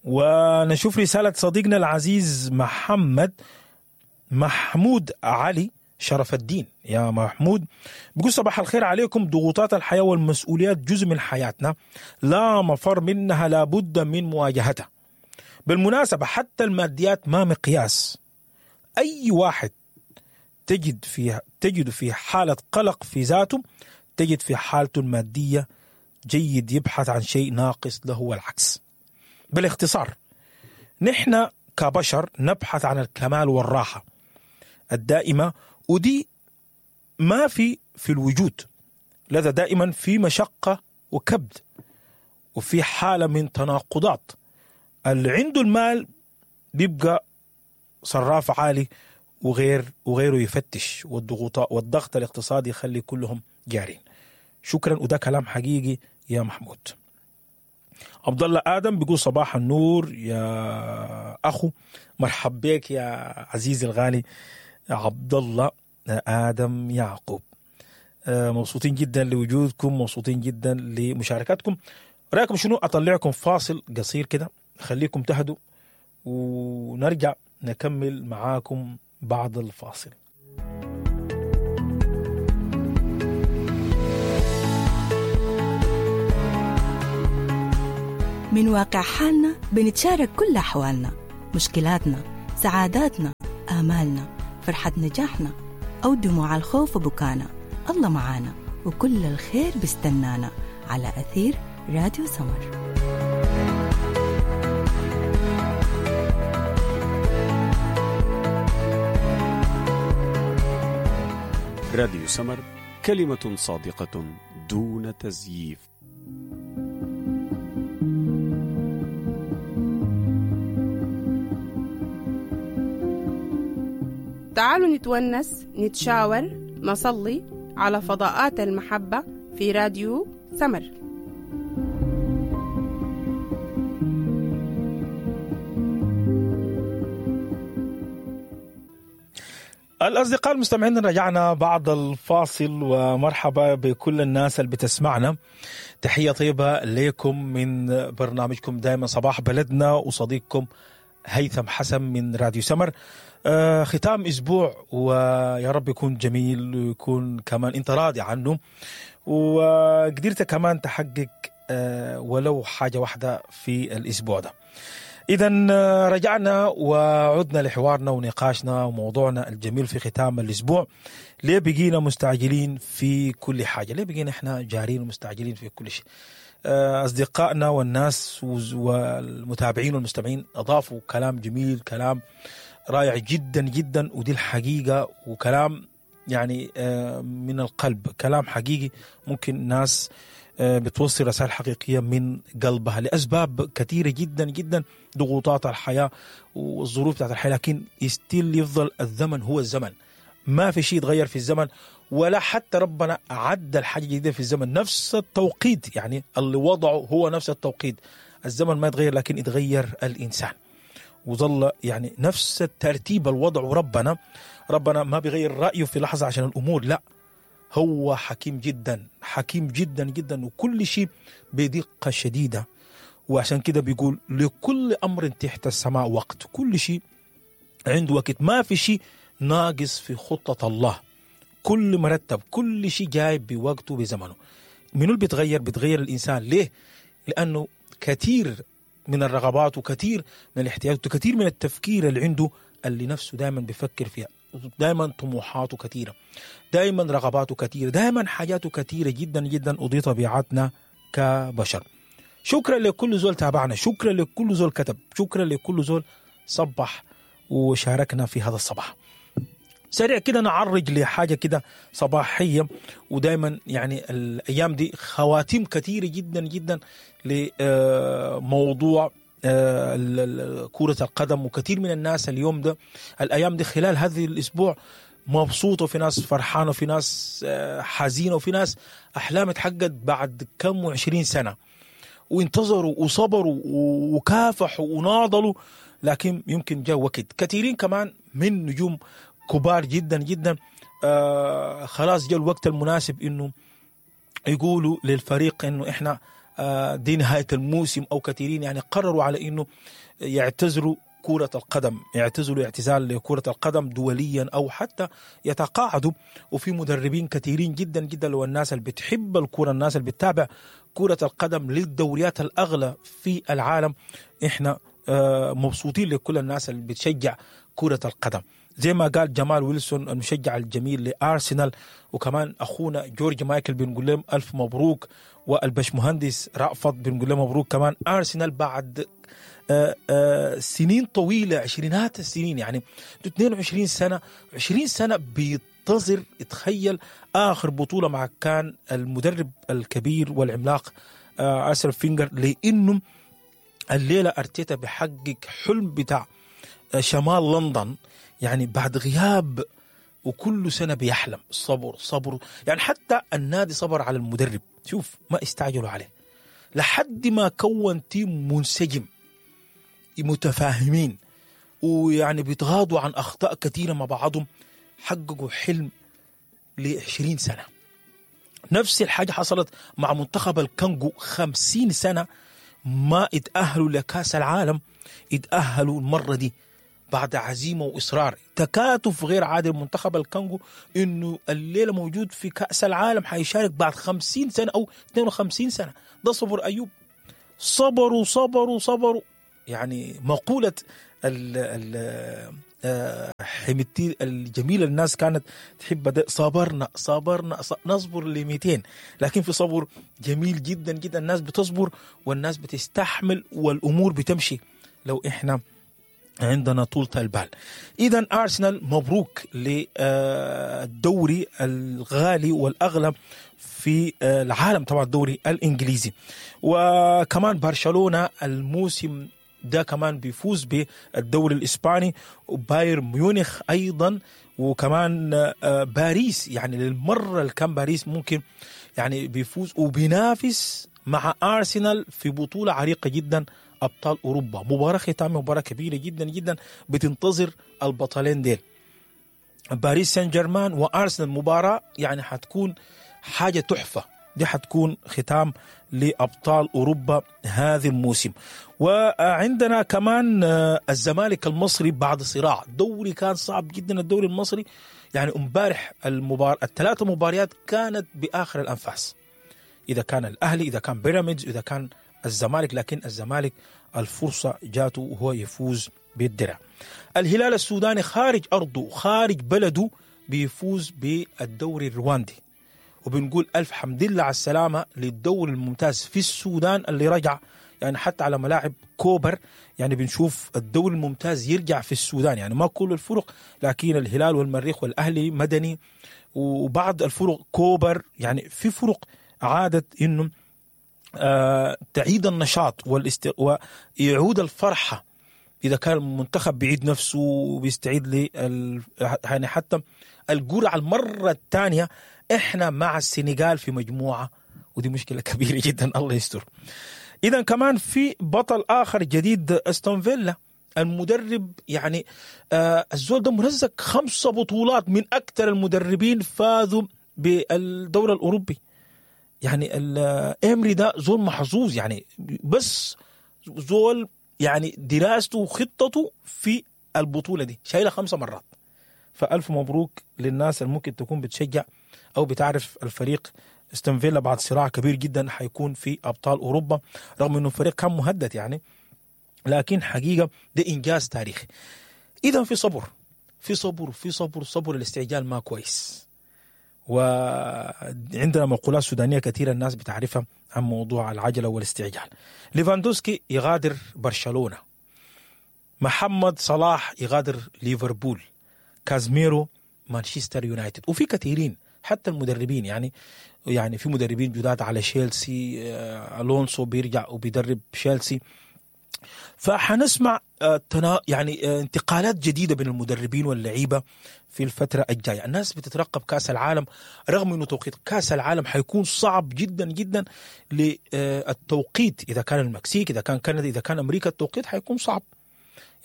ونشوف رسالة صديقنا العزيز محمد محمود علي شرف الدين. يا محمود بيقول صباح الخير عليكم. ضغوطات الحياة والمسؤوليات جزء من حياتنا، لا مفر منها، لابد من مواجهتها. بالمناسبة حتى الماديات ما مقياس، أي واحد تجد في تجد في حالة قلق في ذاته تجد في حالته المادية جيد يبحث عن شيء ناقص له والعكس. بالاختصار نحن كبشر نبحث عن الكمال والراحة الدائمة، ودي ما في في الوجود، لذا دائما في مشقة وكبد وفي حالة من تناقضات. اللي عنده المال بيبقى صراف عالي وغير وغيره يفتش، والضغوطات والضغط الاقتصادي يخلي كلهم جارين. شكرا، وده كلام حقيقي يا محمود. عبد الله ادم بيقول صباح النور يا اخو، مرحب بك يا عزيزي الغالي عبد الله ادم يعقوب. مبسوطين جدا لوجودكم، مبسوطين جدا لمشاركاتكم. رايكم شنو اطلعكم فاصل قصير كده، خليكم تهدوا ونرجع نكمل معاكم بعد الفاصل. من واقع حالنا بنتشارك كل أحوالنا، مشكلاتنا، سعاداتنا، آمالنا، فرحة نجاحنا أو دموع الخوف وبكانا. الله معانا وكل الخير بستنانا على أثير راديو سمر. راديو سمر، كلمة صادقة دون تزييف. تعالوا نتونس، نتشاور، نصلي على فضاءات المحبة في راديو سمر. الأصدقاء المستمعين، رجعنا بعد الفاصل، ومرحبا بكل الناس اللي بتسمعنا. تحية طيبة لكم من برنامجكم دائما صباح بلدنا، وصديقكم هيثم حسن من راديو سمر. آه ختام أسبوع، ويا رب يكون جميل ويكون كمان أنت راضي عنه، وقدرت كمان تحقق آه ولو حاجة واحدة في الأسبوع ده. إذا رجعنا وعدنا لحوارنا ونقاشنا وموضوعنا الجميل في ختام الأسبوع. ليه بقينا مستعجلين في كل حاجة؟ ليه بقينا إحنا جارين ومستعجلين في كل شيء؟ أصدقائنا والناس والمتابعين والمستمعين أضافوا كلام جميل، كلام رائع جدا جدا، ودي الحقيقة، وكلام يعني من القلب، كلام حقيقي ممكن ناس بتوصل رسائل حقيقية من قلبها لأسباب كثيرة جدا جدا، ضغوطات الحياة والظروف بتاعت الحياة، لكن يستيل يفضل الزمن هو الزمن، ما في شيء يتغير في الزمن، ولا حتى ربنا عدل حاجة جديدة في الزمن. نفس التوقيت يعني اللي وضعه هو نفس التوقيت، الزمن ما يتغير لكن يتغير الإنسان، وظل يعني نفس الترتيب الوضع. وربنا ربنا ما بيغير رأيه في لحظة عشان الأمور، لا، هو حكيم جدا، حكيم جدا جدا، وكل شيء بدقة شديدة. وعشان كده بيقول لكل أمر تحت السماء وقت، كل شيء عنده وقت، ما في شيء ناقص في خطة الله، كل مرتب، كل شيء جاي بوقته بزمنه. منو اللي بيتغير؟ بيتغير الإنسان. ليه؟ لأنه كثير من الرغبات وكثير من الاحتياجات وكثير من التفكير اللي عنده، اللي نفسه دائما بيفكر فيها، دائما طموحاته كثيرة، دائما رغباته كثيرة، دائما حاجاته كثيرة جدا جدا، ودي طبيعتنا كبشر. شكرا لكل زول تابعنا، شكرا لكل زول كتب، شكرا لكل زول صبح وشاركنا في هذا الصباح. سريع كده نعرج لحاجة كده صباحية، ودايما يعني الأيام دي خواتيم كثيرة جدا جدا لموضوع كرة القدم، وكثير من الناس اليوم ده الأيام دي خلال هذه الأسبوع مبسوطة، وفي ناس فرحانة، وفي ناس حزينة، وفي ناس أحلام اتحققت بعد كم وعشرين سنة، وانتظروا وصبروا وكافحوا وناضلوا، لكن يمكن جاء وقت. كثيرين كمان من نجوم كبار جدا جدا آه خلاص جاء الوقت المناسب إنه يقولوا للفريق إنه إحنا آه دي نهاية الموسم، أو كثيرين يعني قرروا على إنه يعتزلوا كرة القدم، يعتزلوا اعتزال لكرة القدم دوليا أو حتى يتقاعدوا. وفي مدربين كثيرين جدا جدا، لو الناس اللي بتحب الكرة، الناس اللي بتتابع كرة القدم للدوريات الأغلى في العالم، إحنا آه مبسوطين لكل الناس اللي بتشجع كرة القدم. زي ما قال جمال ويلسون المشجع الجميل لأرسنال، وكمان أخونا جورج مايكل بنقول لهم ألف مبروك، والبش مهندس رأفت بنقول لهم مبروك كمان. أرسنال بعد آآ آآ سنين طويلة، عشرينات السنين، يعني اثنين وعشرين سنة، عشرين سنة بينتظر، تخيل آخر بطولة مع كان المدرب الكبير والعملاق أرسن فينجر، لأنه الليلة أرتيتا بحقق حلم بتاع شمال لندن، يعني بعد غياب، وكل سنة بيحلم. صبر صبر يعني حتى النادي صبر على المدرب، شوف ما استعجلوا عليه لحد ما كون team منسجم متفاهمين، ويعني بيتغاضوا عن أخطاء كثيرة مع بعضهم، حققوا حلم لعشرين سنة. نفس الحاجة حصلت مع منتخب الكونغو، خمسين سنة ما اتأهلوا لكأس العالم، اتأهلوا المرة دي بعد عزيمة وإصرار، تكاتف غير عادي. منتخب الكونغو إنه الليلة موجود في كأس العالم، حيشارك بعد خمسين سنة أو اثنين وخمسين سنة. ده صبر أيوب، صبروا صبروا صبروا. يعني مقولة ال ال حميدتي الجميلة الناس كانت تحب ده، صبرنا صبرنا نصبر ل مئتين، لكن في صبر جميل جدا جدا، الناس بتصبر والناس بتستحمل والأمور بتمشي لو إحنا عندنا طولة البال. إذا أرسنال مبروك للدوري الغالي والأغلى في العالم، طبعا الدوري الإنجليزي. وكمان برشلونة الموسم ده كمان بيفوز بالدوري الإسباني، وبايرن ميونخ أيضا، وكمان باريس، يعني للمرة الكام باريس ممكن يعني بيفوز وبينافس مع أرسنال في بطولة عريقة جدا، أبطال أوروبا. مباراة ختامية، مباراة كبيرة جدا جدا بتنتظر البطلين ديل، باريس سان جيرمان وأرسنال. مباراة يعني حتكون حاجة تحفة، دي حتكون ختام لأبطال أوروبا هذا الموسم. وعندنا كمان الزمالك المصري بعد صراع دوري كان صعب جدا، الدوري المصري يعني امبارح المبار... الثلاثة مباريات كانت بآخر الأنفاس، إذا كان الأهلي، إذا كان بيراميدز، إذا كان الزمالك، لكن الزمالك الفرصة جاته وهو يفوز بالدرع. الهلال السوداني خارج أرضه خارج بلده بيفوز بالدوري الرواندي، وبنقول ألف حمد لله على السلامة للدوري الممتاز في السودان اللي رجع، يعني حتى على ملاعب كوبر يعني بنشوف الدوري الممتاز يرجع في السودان، يعني ما كل الفرق، لكن الهلال والمريخ والأهلي مدني وبعض الفرق كوبر، يعني في فرق عادت إنه آه تعيد النشاط والاست... ويعود الفرحة. إذا كان المنتخب بيعيد نفسه وبيستعيد لل... يعني حتى الجرعة المرة الثانية. إحنا مع السنغال في مجموعة، ودي مشكلة كبيرة جدا، الله يستر. إذا كمان في بطل آخر جديد، أستون فيلا، المدرب يعني آه الزول ده مرزق خمسة بطولات، من أكثر المدربين فازوا بالدوري الأوروبي. يعني الإمري ده زول محظوظ، يعني بس زول يعني دراسته وخطته في البطولة دي شايلة خمسة مرات. فألف مبروك للناس اللي ممكن تكون بتشجع أو بتعرف الفريق استون فيلا بعد صراع كبير جدا حيكون في أبطال أوروبا، رغم أنه الفريق كان مهدد يعني، لكن حقيقة ده إنجاز تاريخي. إذا في صبر، في صبر، في صبر، صبر الاستعجال ما كويس. وعندنا مقولات سودانية كثيرة الناس بتعرفها عن موضوع العجلة والاستعجال. ليفاندوسكي يغادر برشلونة، محمد صلاح يغادر ليفربول، كازميرو مانشستر يونايتد، وفي كثيرين حتى المدربين، يعني يعني في مدربين جداد على شيلسي، ألونسو بيرجع وبيدرب شيلسي. فحنسمع يعني انتقالات جديدة بين المدربين واللعيبة في الفترة الجاية. الناس بتترقب كأس العالم، رغم أنه توقيت كأس العالم حيكون صعب جدا جدا للتوقيت، إذا كان المكسيك، إذا كان كندا، إذا كان أمريكا، التوقيت حيكون صعب.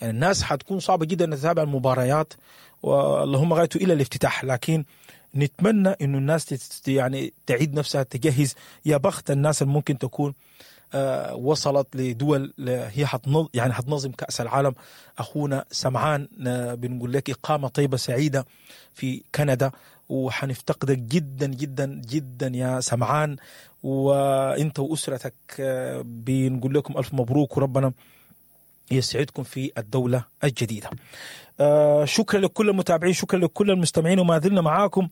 يعني الناس حتكون صعبة جدا تتابع المباريات، واللهم غايته إلى الافتتاح، لكن نتمنى إنه الناس يعني تعيد نفسها، تجهز. يا بخت الناس اللي ممكن تكون آه وصلت لدول هي حتنظ يعني حتنظم كأس العالم. أخونا سمعان آه بنقول لك إقامة طيبة سعيدة في كندا، وحنفتقدك جدا جدا جدا يا سمعان، وإنت وأسرتك آه بنقول لكم ألف مبروك، وربنا يسعدكم في الدولة الجديدة. آه شكرا لكل المتابعين، شكرا لكل المستمعين، وما زلنا معاكم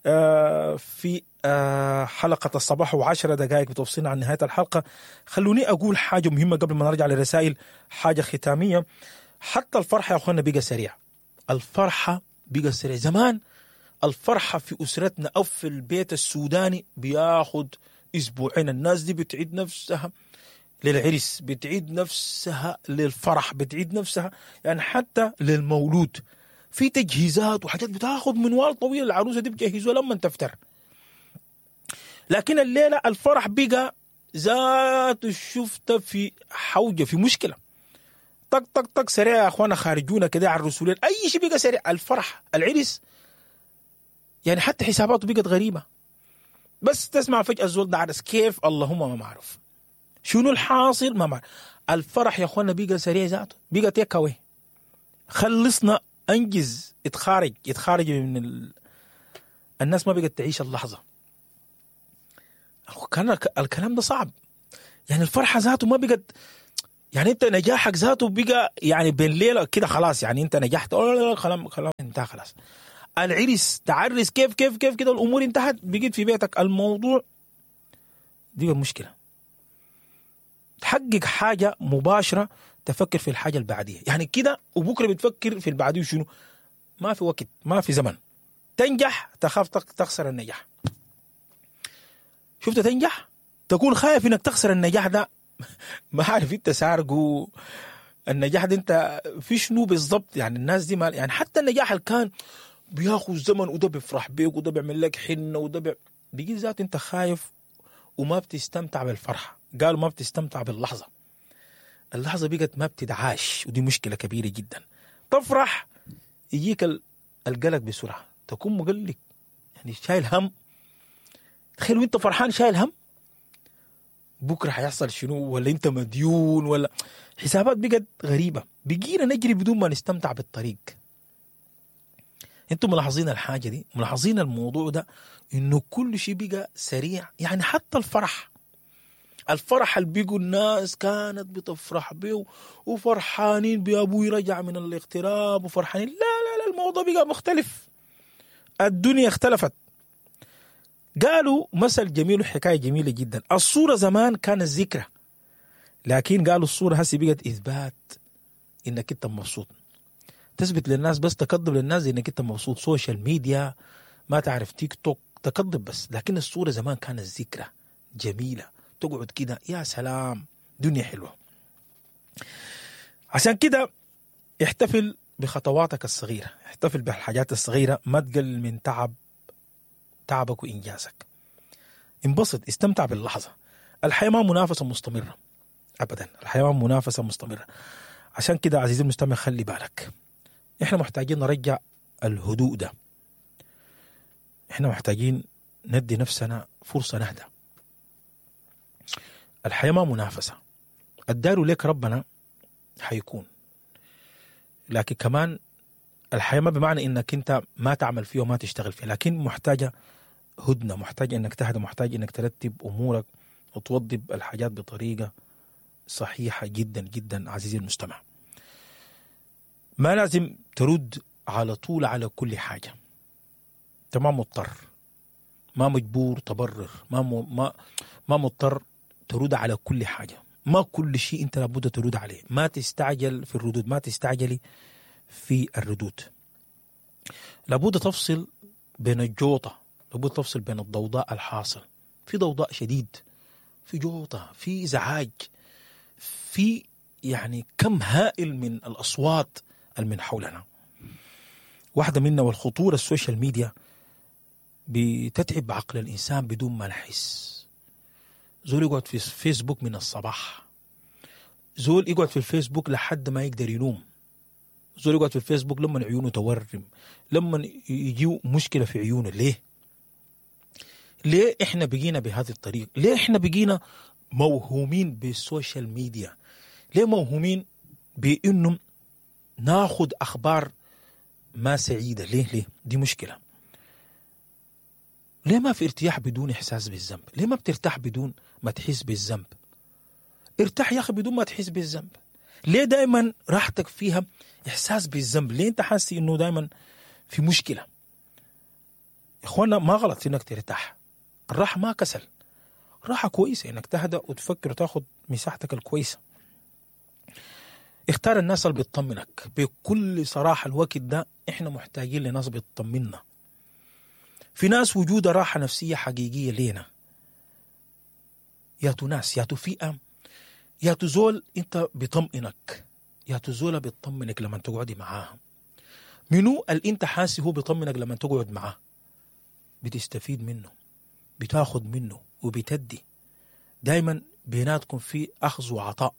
آه في آه حلقة الصباح وعشرة دقائق بتوصلنا عن نهاية الحلقة. خلوني أقول حاجة مهمة قبل ما نرجع للرسائل، حاجة ختامية. حتى الفرحة يا أخوانا بقى سريع، الفرحة بقى سريع. زمان الفرحة في أسرتنا أو في البيت السوداني بياخد أسبوعين، الناس دي بتعيد نفسها للعرس، بتعيد نفسها للفرح، بتعيد نفسها يعني حتى للمولود، في تجهيزات وحاجات بتاخد منوال طويل، العروسة دي بتجهزوها لما تفتر. لكن الليلة الفرح بقى ذات شفت في حوجة، في مشكلة، طق طق طق سريع يا اخوانا، خارجونا كده على الرسولين، اي شيء بقى سريع. الفرح، العرس، يعني حتى حساباته بقت غريبة. بس تسمع فجأة الزول ده عرس كيف، اللهم ما معروف شنو الحاصل، ما معروف. الفرح يا اخوانا بقى سريع ذاته، بقى تيك اواي، خلصنا، انجز، اتخارج اتخارج من ال... الناس ما بقت تعيش اللحظة. كان الكلام ده صعب. يعني الفرحة ذاته ما بقت، يعني انت نجاحك ذاته بقى يعني بين ليلة كده خلاص، يعني انت نجحت خلاص خلاص انتهى خلاص. العرس تعرس كيف كيف كيف كده الامور انتهت، بقيت في بيتك. الموضوع دي المشكلة. تحقق حاجة مباشرة تفكر في الحاجة البعدية، يعني كده وبكره بتفكر في البعدية شنو؟ ما في وقت، ما في زمن. تنجح تخاف تخسر النجاح. شفت تنجح تكون خايف انك تخسر النجاح ده، ما عارف انت سارقه النجاح ده انت في شنو بالضبط. يعني الناس دي ما يعني حتى النجاح اللي كان بياخذ زمن وده بيفرح بيك وده بيعمل لك حنة وده بي... بيجي ذاته انت خايف وما بتستمتع بالفرحه. قالوا ما بتستمتع باللحظة، اللحظة بقت ما بتدعاش، ودي مشكلة كبيرة جدا. تفرح يجيك القلق بسرعة، تكون مقلق يعني شايل هم. تخيل وانت فرحان شايل هم، بكره حيحصل شنو، ولا انت مديون، ولا حسابات بقت غريبة. بقينا نجري بدون ما نستمتع بالطريق. انتم ملاحظين الحاجة دي؟ ملاحظين الموضوع ده انه كل شيء بقى سريع. يعني حتى الفرح، الفرح اللي بيقوا الناس كانت بتفرح بيه وفرحانين بأبوي رجع من الاغتراب وفرحانين، لا لا لا، الموضوع بقى مختلف، الدنيا اختلفت. قالوا مثل جميل وحكاية جميلة جدا. الصورة زمان كانت ذكرى، لكن قالوا الصورة هسي بقت إثبات إنك أنت مبسوط. تثبت للناس بس، تكذب للناس إنك أنت مبسوط. social media، ما تعرف تيك توك، تكذب بس. لكن الصورة زمان كانت ذكرى جميلة، تقعد كده يا سلام، دنيا حلوة. عشان كده احتفل بخطواتك الصغيرة، احتفل بالحاجات الصغيرة، ما تقلل من تعب تعبك وإنجازك. انبسط، استمتع باللحظة. الحياة ما منافسة مستمرة أبدا، الحياة ما منافسة مستمرة. عشان كده عزيزي المستمع خلي بالك، احنا محتاجين نرجع الهدوء ده، احنا محتاجين ندي نفسنا فرصة نهدى. الحياة ما منافسة، الدار لك ربنا حيكون، لكن كمان الحياة ما بمعنى انك انت ما تعمل فيه وما تشتغل فيه، لكن محتاجة هدنة، محتاجة انك تهدى، محتاج انك ترتب امورك وتوضب الحاجات بطريقة صحيحة جدا جدا. عزيزي المستمع، ما لازم ترد على طول على كل حاجة، انت ما مضطر، ما مجبور تبرر، ما م... ما ما مضطر ترد على كل حاجة، ما كل شيء انت لابد ترد عليه. ما تستعجل في الردود، ما تستعجلي في الردود. لابد تفصل بين الجوطة، لابد تفصل بين الضوضاء الحاصل. في ضوضاء شديد، في جوطة، في إزعاج، في يعني كم هائل من الأصوات من حولنا. واحدة منا والخطورة ال social media بتتعب عقل الإنسان بدون ما نحس. زول يقعد في فيسبوك من الصباح، زول يقعد في الفيسبوك لحد ما يقدر ينوم، زول يقعد في الفيسبوك لما عيونه تورم، لما يجيو مشكلة في عيونه. ليه؟ ليه إحنا بقينا بهذه الطريقة؟ ليه إحنا بقينا موهومين بال social media؟ ليه موهومين بإنه ناخد أخبار ما سعيدة؟ ليه؟ ليه؟ دي مشكلة. ليه ما في ارتياح بدون إحساس بالذنب؟ ليه ما بترتاح بدون ما تحس بالذنب؟ ارتاح يا أخي بدون ما تحس بالذنب. ليه دايما راحتك فيها إحساس بالذنب؟ ليه أنت حاسس إنه دايما في مشكلة؟ إخوانا، ما غلط إنك ترتاح، الراحة ما كسل، راحة كويسة إنك تهدأ وتفكر وتاخد مساحتك الكويسة. اختار الناس اللي بتطمنك بكل صراحة. الوقت ده إحنا محتاجين لناس بتطمنا. في ناس وجودها راحة نفسية حقيقية لينا. يا تو ناس، يا تو فئة، يا تو زول انت بيطمئنك، يا تو زولة بتطمنك لما تقعدي معاها. منو اللي انت حاسس هو بيطمنك لما تقعد معاه؟ بتستفيد منه، بتاخد منه وبتدي. دايما بيناتكم في أخذ وعطاء،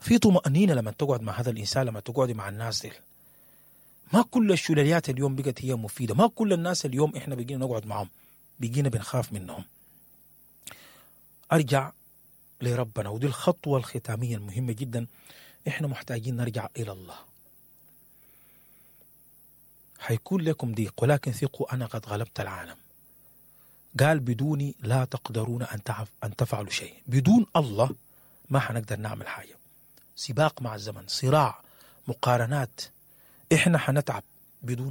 في طمأنينة لما تقعد مع هذا الإنسان، لما تقعدي مع الناس دي. ما كل الشلاليات اليوم بقت هي مفيدة، ما كل الناس اليوم إحنا بقينا نقعد معهم بقينا بنخاف منهم. أرجع لربنا، ودي الخطوة الختامية المهمة جدا. إحنا محتاجين نرجع إلى الله. حيكون لكم ضيق، ولكن ثقوا أنا قد غلبت العالم. قال بدوني لا تقدرون ان تعف ان تفعلوا شيء. بدون الله ما حنقدر نعمل حاجة. سباق مع الزمن، صراع، مقارنات، احنا حنتعب بدون